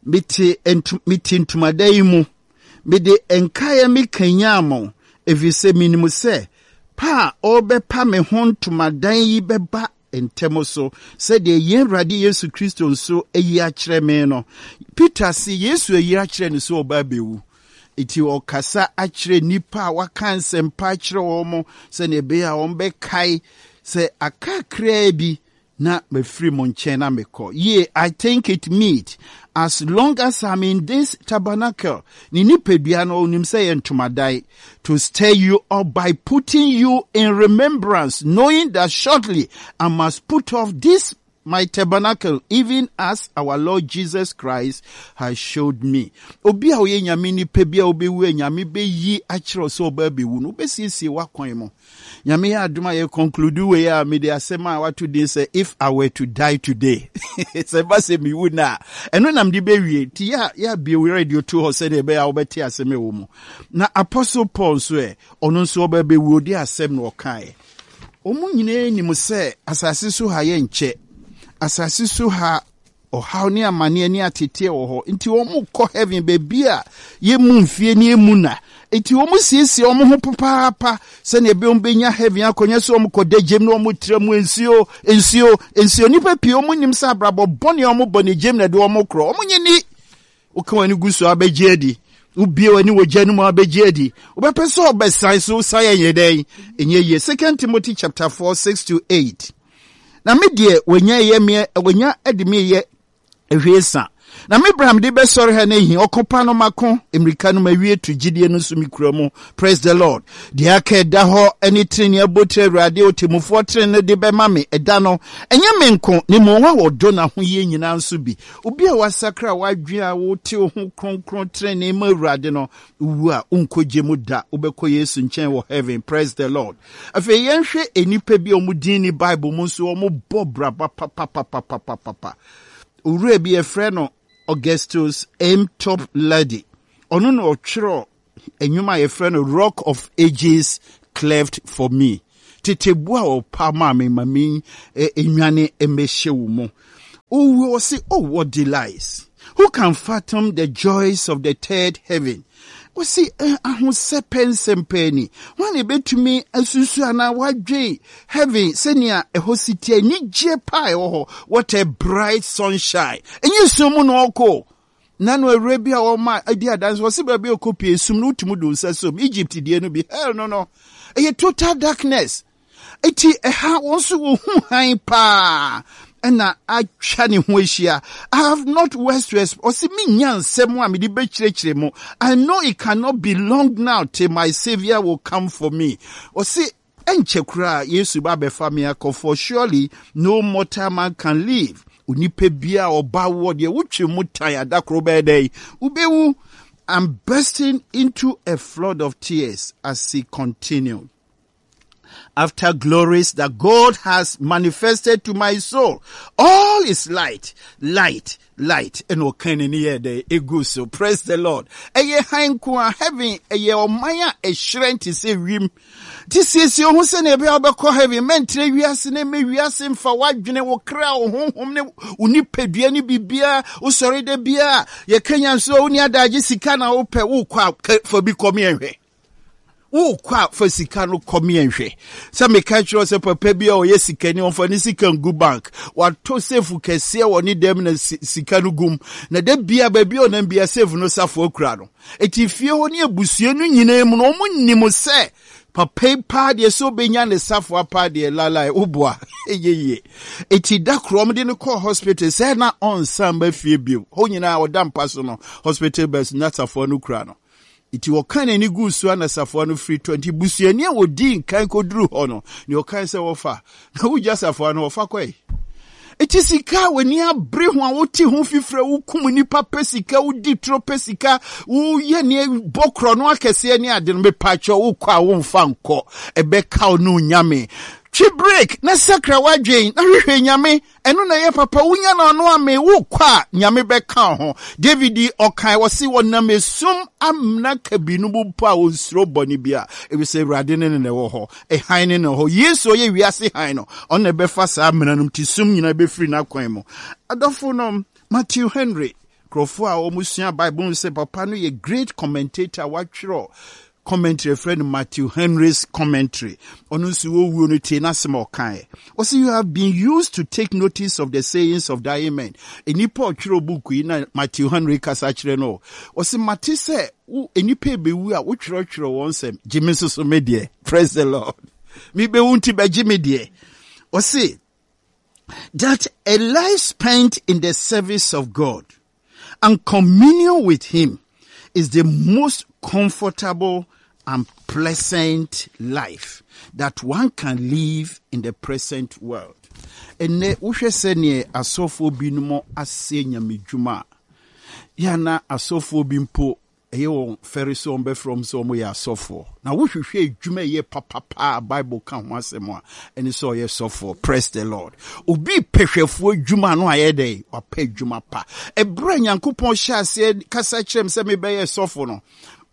mete nto mete ntomadan yi mu. Mede nkaeɛ mekanyan mo, ɛfiri sɛ menim sɛ pa a ɔrebɛpa me ho ntomadan yi bɛba ntɛm so, sɛdeɛ yɛn Awurade Yesu Kristo nso ayi akyerɛ me no. Peter se Yesu ayi akyerɛ no sɛ ɔba abɛwu. Enti ɔkasa akyerɛ nnipa a waka nsɛmpa akyerɛ wɔn sɛdeɛ ɛbɛyɛ a wɔbɛkae sɛ aka kakraa bi na mafiri mo nkyɛn na mekɔ. Yea, I think it meet as long as I'm in this tabernacle. Ne nipadua no, ɔnim sɛ yɛ ntomadan. To stir you up by putting you in remembrance, knowing that shortly I must put off this my tabernacle, even as our Lord Jesus Christ has showed me. Obi a ɔyɛ nyame nipa bi a wobɛwu a nyame bɛyi akyerɛ sɛ ɔba abɛwu no, wobɛsiesie w'akwan mu. Nyame yɛ adom a yɛ conclude wei a mede asɛm a wato din sɛ if I were to die today sɛ ɛba sɛ mewu no a ɛno na mede bɛwie nti yɛ a yɛabie wo radio to hɔ sɛdeɛ ɛbɛyɛ a wobɛte asɛm ɛwɔ mu na Apostle Paul nso ɛ ɔno nso ɔba bɛwu ɔde asɛm na ɔkaeɛ wɔn nyinaa nim sɛ asase so ha yɛ nkyɛ asase so ha Ɔhaw ne amaneɛ ne ateteɛ wɔ hɔ. Nti wɔn kɔ heaven baabi a yɛmmu mfie ne yɛmmu nna. Nti wɔn siesie wɔn ho papaapa sɛnea ɛbɛyɛ wɔn bɛnya heaven akɔ. Nyɛ sɛ wɔn kɔ da gyem na wɔn tra mu nsuo, nsuo, nsuo. Nnipa pii wɔn nim sɛ abrabɔ bɔne a wɔn bɔ ne gyem na ɛde wɔn korɔ. Wɔn nye ni. Woka w'ani gu so abɛgye adi. Wobie w'ani wɔ gya no mu abɛgye adi. Wobɛpɛ sɛ ɔbɛsan so san ɛnyɛ dɛn? Ɛnyɛ yie. Second Timothy chapter 4 6 to 8. Na me deɛ wɔanya yɛ me wɔanya de me yɛ ahwiesa. Na me bra mede bɛsɔre ha no ahi, ɔko pa no mako, mmirika no mawie tu, gyidie no nso mekura mu. Praise the Lord. Deɛ aka ɛda hɔ ne tenenee abotire Awurade ɔtemmufoɔ tene no de bɛma me ɛda no, ɛnyɛ me nko, na mmom wɔn a wɔdɔ n'ahoyie nyinaa nso bi. Obi a wasakra w'adwene a wote wo ho kronkron tenenee ma Awurade no, wowu a wonkɔ gye mu da, wobɛkɔ Yesu nkyɛn wɔ heaven. Praise the Lord. Afei yɛnhwɛ nnipa bi a wɔn din ni Bible mu nso wɔbɔ braba papapapapapapa. Owura bi yɛfrɛ no Augustus M. Toplady. Ɔno na ɔtwerɛ nnwom a yɛfrɛ no Rock of Ages Cleft for Me. Tete bo a ɔpa maa me ma me nwane mmɛhyɛ wo mu. Owuo ɔse, oh what delights! Who can fathom the joys of the third heaven? Ɔse, eh, ahosɛpɛ nsɛm paa ni. Hwan na ebetumi asusu anaa wadwen heaven sɛnea ɛhɔ si te, anigyeɛ paa ɛwɔ hɔ. What a bright sunshine. Ɛnyɛ sum mu na ɔkɔ. Na no awura bi a ɔma adi adanse ɔse baabi a ɔkɔ pie sum no wotumi de wo nsa som Egypt deɛ no bi hell no no ɛyɛ total darkness. Eti ɛha wɔn nso wɔhu hann paa ɛna atwa ne ho ahyia. I have not words to express. Ɔse menya nsɛm a mede bɛkyerɛkyerɛ mu. I know it cannot be long now till my savior will come for me. Ɔse ɛnkyɛ koraa Yesu ba abɛfa me akɔ for surely no mortal man can live. Onipa biara a ɔba woɔ deɛ wotwe mu tan adakoro bɛyɛ dɛn? Wobɛwu. I'm bursting into a flood of tears as he continued. After glories that God has manifested to my soul, all is light, light, light. Ɛna ɔka n'ani yɛ dɛ egu so. Praise the Lord. Ɛyɛ hann nko a heaven ɛyɛ ɔman a ɛhyerɛn te sɛ wim. Te siesie ho sɛnea ɛbɛyɛ wobɛkɔ heaven. Mɛntrɛ wiase ne mɛ wiase mfa w'adwene, wo kra, wo honhom ne wo nipadua ne biribiara. Wosɔre da biara yɛka nyanso a wonni adagye sika na wopɛ wokɔ a fa bi kɔ meɛnhwɛ. Wokɔ a fa sika no kɔ meɛnhwɛ. Sɛ meka kyerɛ sɛ papa bi a ɔyɛ sikani ɔmfa ne sika ngu bank. Watɔ safe kɛseɛ wɔ ne dɛm na sika no gum. Na da bia baabi a ɔnam bia safe no safoa kura no. Eti fie hɔ ne abusua no nyinaa mu no wɔn nim sɛ papa yi paa deɛ sɛ ɔbɛnya ne safoa paa deɛ lalai woboa ɛyɛ yie. Eti da koro wɔn de no kɔɔ hospital sɛ na ɔnsan ba fie bio. Hɔ nyinaa ɔda mpa so no hospital bus na safoa no kura no. Nti wɔkaa n'ani guu so a na safoa no firi tɔ. Nti busuani a wɔdii nkan kɔduruu hɔ no, nea ɔkae sɛ wɔfa, na wogya safoa no, wɔfa kɔe. Nti sika a w'ani abere ho a wote ho fifire, wokum nnipa pɛ sika, wodi turo pɛ sika, woyɛ nea bɔ korɔ no akɛseɛ ne ade no, mepaakyɛw wokɔ a womfa nkɔ, ɛbɛka wo ne Onyame. Twe break na sakra w'adwen na hwehwɛ Nyame. Ɛno na ɛyɛ papa, wonya no ano amee, wokɔ a, Nyame bɛka wo ho. David yi, ɔkae, ɔse, ɔnam esum amena kabii no mu mpo a, onsuro bɔne biara, efisɛ Awurade ne no na ɛwɔ hɔ, hann ne no wɔ hɔ. Yesu a ɔyɛ wiase hann no, ɔno na ɛbɛfa saa amena no mu, nti sum nyinaa bɛfiri n'akwan mu. Adɔfonom, Matthew Henry, nkurɔfoɔ a wɔsua Bible hu sɛ papa no yɛ great commentator, watwerɛ commentary yɛfrɛ no Matthew Henry's commentary. Ɔno nso wɔwuo no tie n'asɛm a ɔkaeɛ. Ɔsɛ you have been used to take notice of the sayings of dying men. Nnipa a ɔtwerɛ book yi na Matthew Henry kasa kyerɛ no. Ɔsɛ mate sɛ wo nnipa ɛbɛwu a wotwerɛtwerɛ wɔn nsɛm. Gye me nso so me deɛ. Praise the Lord. Mebɛwu nti bɛgye me deɛ. Ɔse that a life spent in the service of God and communion with Him is the most comfortable and pleasant life that one can live in the present world. Ɛnɛ wohwɛ sɛdeɛ asɔfoɔ binom asɛ nyamedwuma a, yɛ na asɔfoɔ bi mpo Ɛyɛ wɔn fɛre sɛ wɔbɛfrɛ wɔn sɛ wɔyɛ asɔfoɔ. Na wohwehwɛ adwuma a ɛyɛ papa paa a Bible ka ho asɛm a, ɛne sɛ ɔyɛ sɔfoɔ. Praise the Lord. Obi pɛ hwɛfoɔ adwuma no ayɛ dɛn? Wapɛ adwuma pa. Ɛberɛ a Nyankopɔn hyɛ aseɛ kasa kyerɛ me sɛ mebɛyɛ sɔfo no,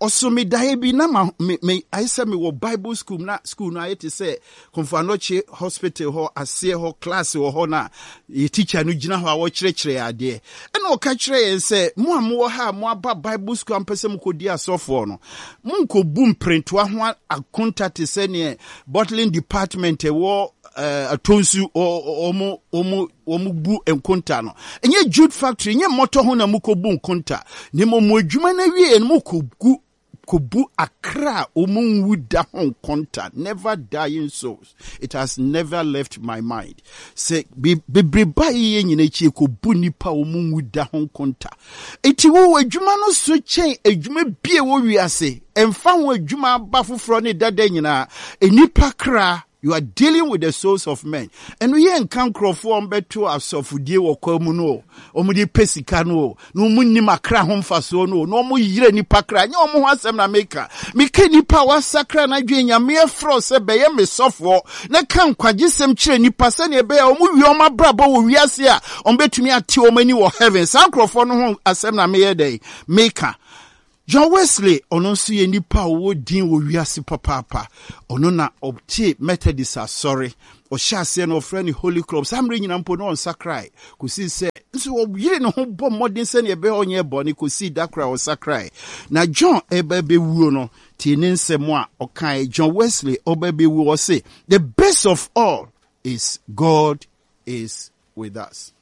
ɔso me daeɛ bi na ma me me ayɛ sɛ mewɔ Bible school na school no ayɛ te sɛ Komfo Anokye hospital hɔ aseɛ hɔ class wɔ hɔ na yɛ teacher no gyina hɔ a wɔkyerɛkyerɛ yɛn adeɛ. Ɛna ɔka kyerɛ yɛn sɛ mo a mowɔ ha a moaba Bible school a mpɛ sɛ mokɔdi asɔfoɔ no, monkɔbu mperentoa ho akonta te sɛ neɛ bottling department ɛwɔ uh, atonsu wɔn wɔn wɔn bu nkonta no. Ɛnyɛ jute factory, ɛnyɛ mmɔtɔ ho na mokɔbu nkonta. Na mmom mo adwuma no awie no mokɔgu. Yɛkɔbu akra a wɔn nwu da ho nkonta, never dying souls. It has never left my mind. Sɛ bebrebe a yɛyɛ nyina akyi yɛkɔbu nnipa a wɔn nwu da ho nkonta. Enti wo adwuma no so kyɛn adwuma bi a ɛwɔ wiase. Ɛmfa ho adwuma aba foforɔ ne dada nyinaa, nnipa kra. You are dealing with the souls of men. Ɛno yɛ nka nkurɔfoɔ a wɔbɛto asɔfodie wɔ kwa mu no o, wɔde pɛ sika no o, na wɔn nim akra ho mfasoɔ no o, na wɔn yerɛ nipa kra. Nyɛ wɔn ho asɛm na meka. Meka nipa a wasakra n'adwene Nyame afrɛ sɛ bɛyɛ me sɔfoɔ na ka nkwagyesɛm kyerɛ nipa sɛnea ɛbɛyɛ a wɔn wie wɔn abrabɔ wɔ wiase a wɔbɛtumi ate wɔn ani wɔ heaven. Saa nkurɔfoɔ no ho asɛm na meyɛ dɛn meka. John Wesley, ɔno nso yɛ nipa a ɔwɔ din wɔ wiase papaapa. Ɔno na ɔtee Methodist asɔre. Ɔhyɛ aseɛ no ɔfrɛ no Holy Club. Saa mmerɛ nyina mpo na ɔnsakrae kɔsii sɛ nso ɔyere ne ho bɔ mmɔden sɛdeɛ ɛbɛyɛ ɔnyɛ bɔne kɔsii da koro a ɔsakrae. Na John ɛreba bɛwuo no, tie ne nsɛm a ɔkae. John Wesley ɔba bɛwuo, ɔse, The best of all is God is with us.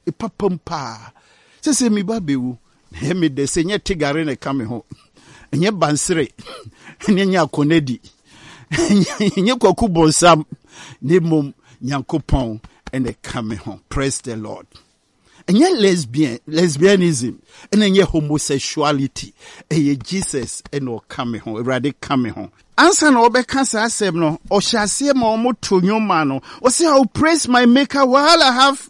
Papam paa. Sese me ba bewu. Na ɛyɛ me dɛ sɛ nyɛ tigare na ɛka me ho. Ɛnyɛ bansere. Ɛnyɛ nyɛ akɔnadi. Ɛnyɛ kwaku bonsam. Na mmom Nyankopɔn na ɛka me ho. Praise the Lord. Ɛnyɛ lesbian, lesbianism, ɛna ɛnyɛ homosexuality. Ɛyɛ Jesus ɛna ɔka me ho. Awurade ka me ho. Ansa na ɔbɛka saa asɛm no, ɔhyɛ aseɛ ma wɔto nnwom maa no. Ɔse, I will praise my maker while I have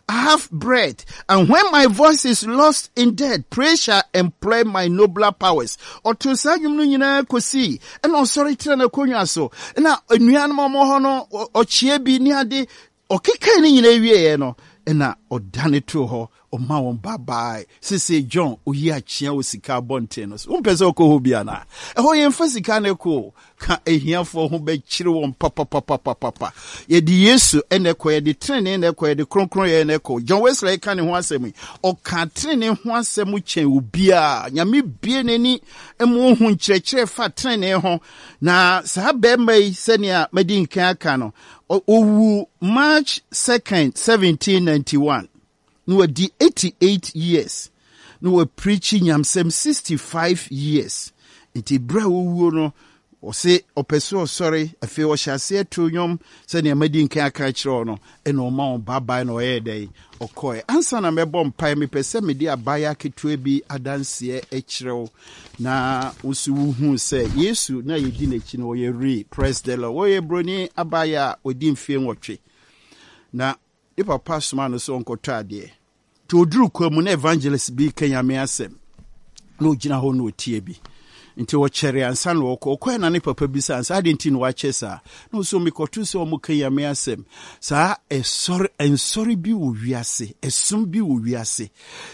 I have breath, and when my voice is lost in death, praise shall employ my nobler powers. Ɔtoo saa nnwom no nyinaa kɔsii ɛna ɔsɔre tena n'akonnwa so. Na anuanom a wɔwɔ hɔ no, ɔkyeɛ bi ne ade. Ɔkekae ne nyinaa wieeɛ no, ɛna ɔdane too hɔ, ɔma wɔn bye bye. Seesei John, oyi akyea wɔ sika abɔnten no so. Wompɛ sɛ ɔkɔ hɔ bi anaa? Ɛhɔ yɛmfa sika no kɔ o. Ka ahiafoɔ ho bɛkyere wɔn papapapapapa. Yɛde Yesu na ɛkɔ, yɛde tenenee na ɛkɔ, yɛde kronkronyɛ na ɛkɔ. John Wesley ka ne ho asɛm yi, ɔka tenenee ho asɛm kyɛn obiara. Nyame bue n'ani ma ohu nkyerɛkyerɛ fa tenenee ho. Na saa barima yi, sɛnea madi nkan aka no, Ɔwuu March 2nd, 1791. Na wadi 88 years. Na wapreachi nyamsɛm 65 years. Nti berɛ a ɔwuo no, ɔse ɔpɛ sɛ ɔsɔre, afei ɔhyɛ aseɛ too nnwom sɛdeɛ madi nkan aka akyerɛ wo no, ɛna ɔma wɔn bye bye na ɔyɛɛ dɛn? Ɔkɔɛ. Ansa na mɛbɔ mpaeɛ, mepɛ sɛ mede abaayewa ketewa bi adanseɛ kyerɛ wo. Na wo nso wohuu sɛ Yesu na yɛdi n'akyi no, ɔyɛ real. Praise the Lord. Wɔyɛ buroni abaayewa a ɔdi mfeɛ nwɔtwe. Na ne papa soma no sɛ ɔnkɔtɔ adeɛ. Nti ɔduru kwa mu na evangelist bi reka Nyame asɛm. Na ɔgyina hɔ na ɔtie bi. Nti ɔkyɛre ansa na ɔkɔ. Ɔkɔɛ na ne papa bisa no sɛ adɛn nti na wakyɛ saa? Na ɔsɛ mekɔto sɛ ɔmo ka Nyame asɛm. Saa ɛsɔre nsɔre bi wɔ wiase, ɛsom bi wɔ wiase.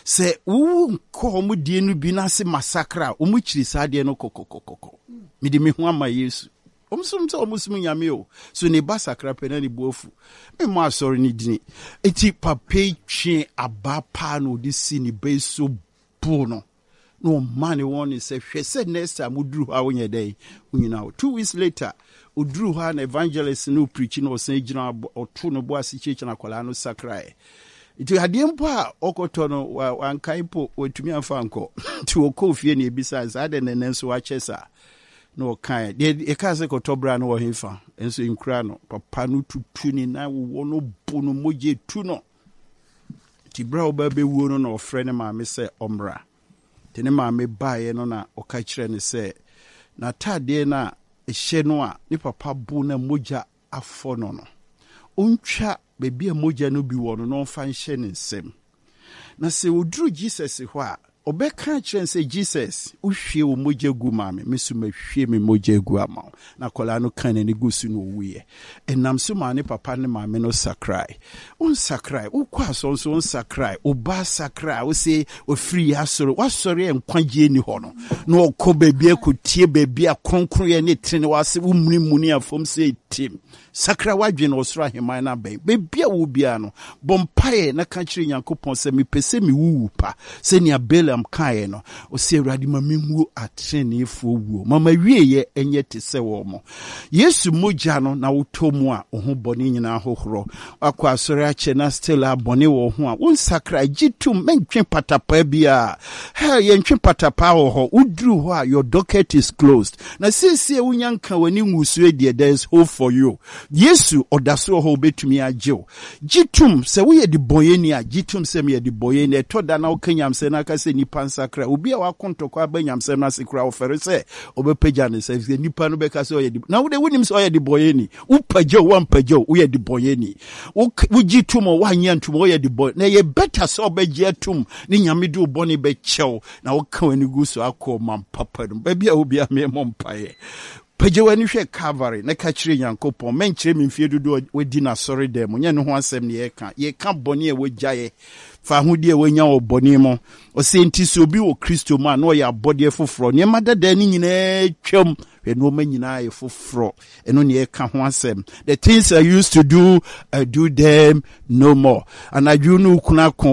Sɛ wowu nkɔ wɔn deɛ no bi n'ase masakra a, wɔn kyiri saa adeɛ no kɔkɔkɔkɔ. Mede me ho ama Yesu. Wɔn som sɛ wɔn som Nyame o. So ne ba sakra pɛ na ne bo afu. Me mmɔ asɔre no dini. Eti papa yi twe abaa paa na ɔde si ne ba yi so boo no. Na ɔma ne wɔn ne sɛ hwɛ sɛ next time woduru hɔ a wonyɛ dɛn wonyina hɔ. 2 weeks later oduru hɔ a na evangelist no preach na ɔsan gyina ɔto no bo ase kyerɛkyerɛ na akwadaa no sakraeɛ. Nti adeɛ mpo a ɔkɔtɔ no wankae mpo watumi amfa nkɔ. Nti ɔkɔɔ fie na ebisaa sɛ adɛn na ɛnɛ nso wakyɛ saa. Na ɔkae deɛ yɛkaa sɛ kɔtɔ bra no wɔ hefa nso nkura no. Papa no tutu ne nan wowɔ no bo no mogya tu no. Nti berɛ a ɔba bɛwuo no na ɔfrɛ ne maame sɛ ɔmmra. Nti ne maame baeɛ no na ɔka kyerɛ no sɛ n'ataadeɛ no a ɛhyɛ no a ne papa bo na mogya afɔ no no, ɔntwa baabi a mogya no bi wɔ no na ɔmfa nhyɛ ne nsam. Na sɛ ɔduru Jesus hɔ a, ɔbɛka akyerɛ no sɛ, Jesus, wohwie wo mogya gu maa me, me nso mahwie me mogya agu ama wo. Na akwadaa no kaa n'ani gu so na ɔwuiɛ. Ɛnam so maa ne papa ne maame no sakrae. Wonsakrae, wokɔ asɔre nso wonsakrae, wo ba sakrae, wo se wafiri yɛ asɔre, w'asɔre a nkwagyeɛ nni hɔ no, na ɔkɔ baabi akɔtie baabi a kronkronyɛ ne tene w'ase, womunimuni afam sɛ tim. Sakra w'adwene na ɔsoro ahemman no abɛn. Baabi a wowɔ biara no, bɔ mpaeɛ na ka kyerɛ Nyankopɔn sɛ, Mepɛ sɛ mewu wu pa, sɛnea Balaam. Miriam kaeɛ no, ɔsɛ Awurade ma menwu ateneneefoɔ wuo, ma m'awieeɛ nyɛ te sɛ wɔn mo. Yesu mogya no na wotɔ mu a, wo ho bɔne nyinaa hohorɔ. Wakɔ asɔre akyɛ na still a bɔne wɔ ho a, wonsakra, gye tom, mentwe patapaa biara. Hell, yɛntwe patapaa wɔ hɔ. Woduru hɔ a, your docket is closed. Na seesei a wonya nka w'ani ngusoe deɛ, there is hope for you. Yesu, ɔda so wɔ hɔ, obetumi agye wo. Gye tom, sɛ woyɛ debɔnyɛni a, gye tom sɛ meyɛ debɔnyɛni. Ɛtɔ da na woka nyamsɛm na aka sɛ nnipa nsakra. Obi a wako ntɔkwa aba nyamsɛm no ase koraa, ɔfɛre sɛ ɔbɛpagya ne nsa, efisɛ nnipa no bɛka sɛ ɔyɛ de. Na wo de, wonim sɛ ɔyɛ debɔnyɛni. Wopagya o, woampagya o, woyɛ debɔnyɛni. Wo, wogye tom o, woannye antom o, woyɛ debɔnyɛni. Na ɛyɛ better sɛ wobɛgye atom ne Nyame de wo bɔne bɛkyɛ wo na woka w'ani gu so akɔ ɔman papa no mu. Baabi a wɔ biara, memmɔ mpaeɛ. Pagya w'ani hwɛ Calvary na ka kyerɛ Nyankopɔn, mɛnkyerɛ me mfeɛ dodoɔ a wadi no asɔredan mu, nyɛ ɛno ho asɛm na yɛreka. Yɛreka bɔne a wagyaeɛ, fahodie a wanya wɔ bɔne mu. Ɔsɛ enti sɛ obi wɔ Kristo mu a, na ɔyɛ abɔdeɛ foforɔ. Nneɛma dadaa no nyinaa twam, hwɛ nneɛma nyinaa yɛ foforɔ. Ɛno na yɛreka ho asɛm. The things I used to do, I do them no more. Anadwo no wo kunu ako.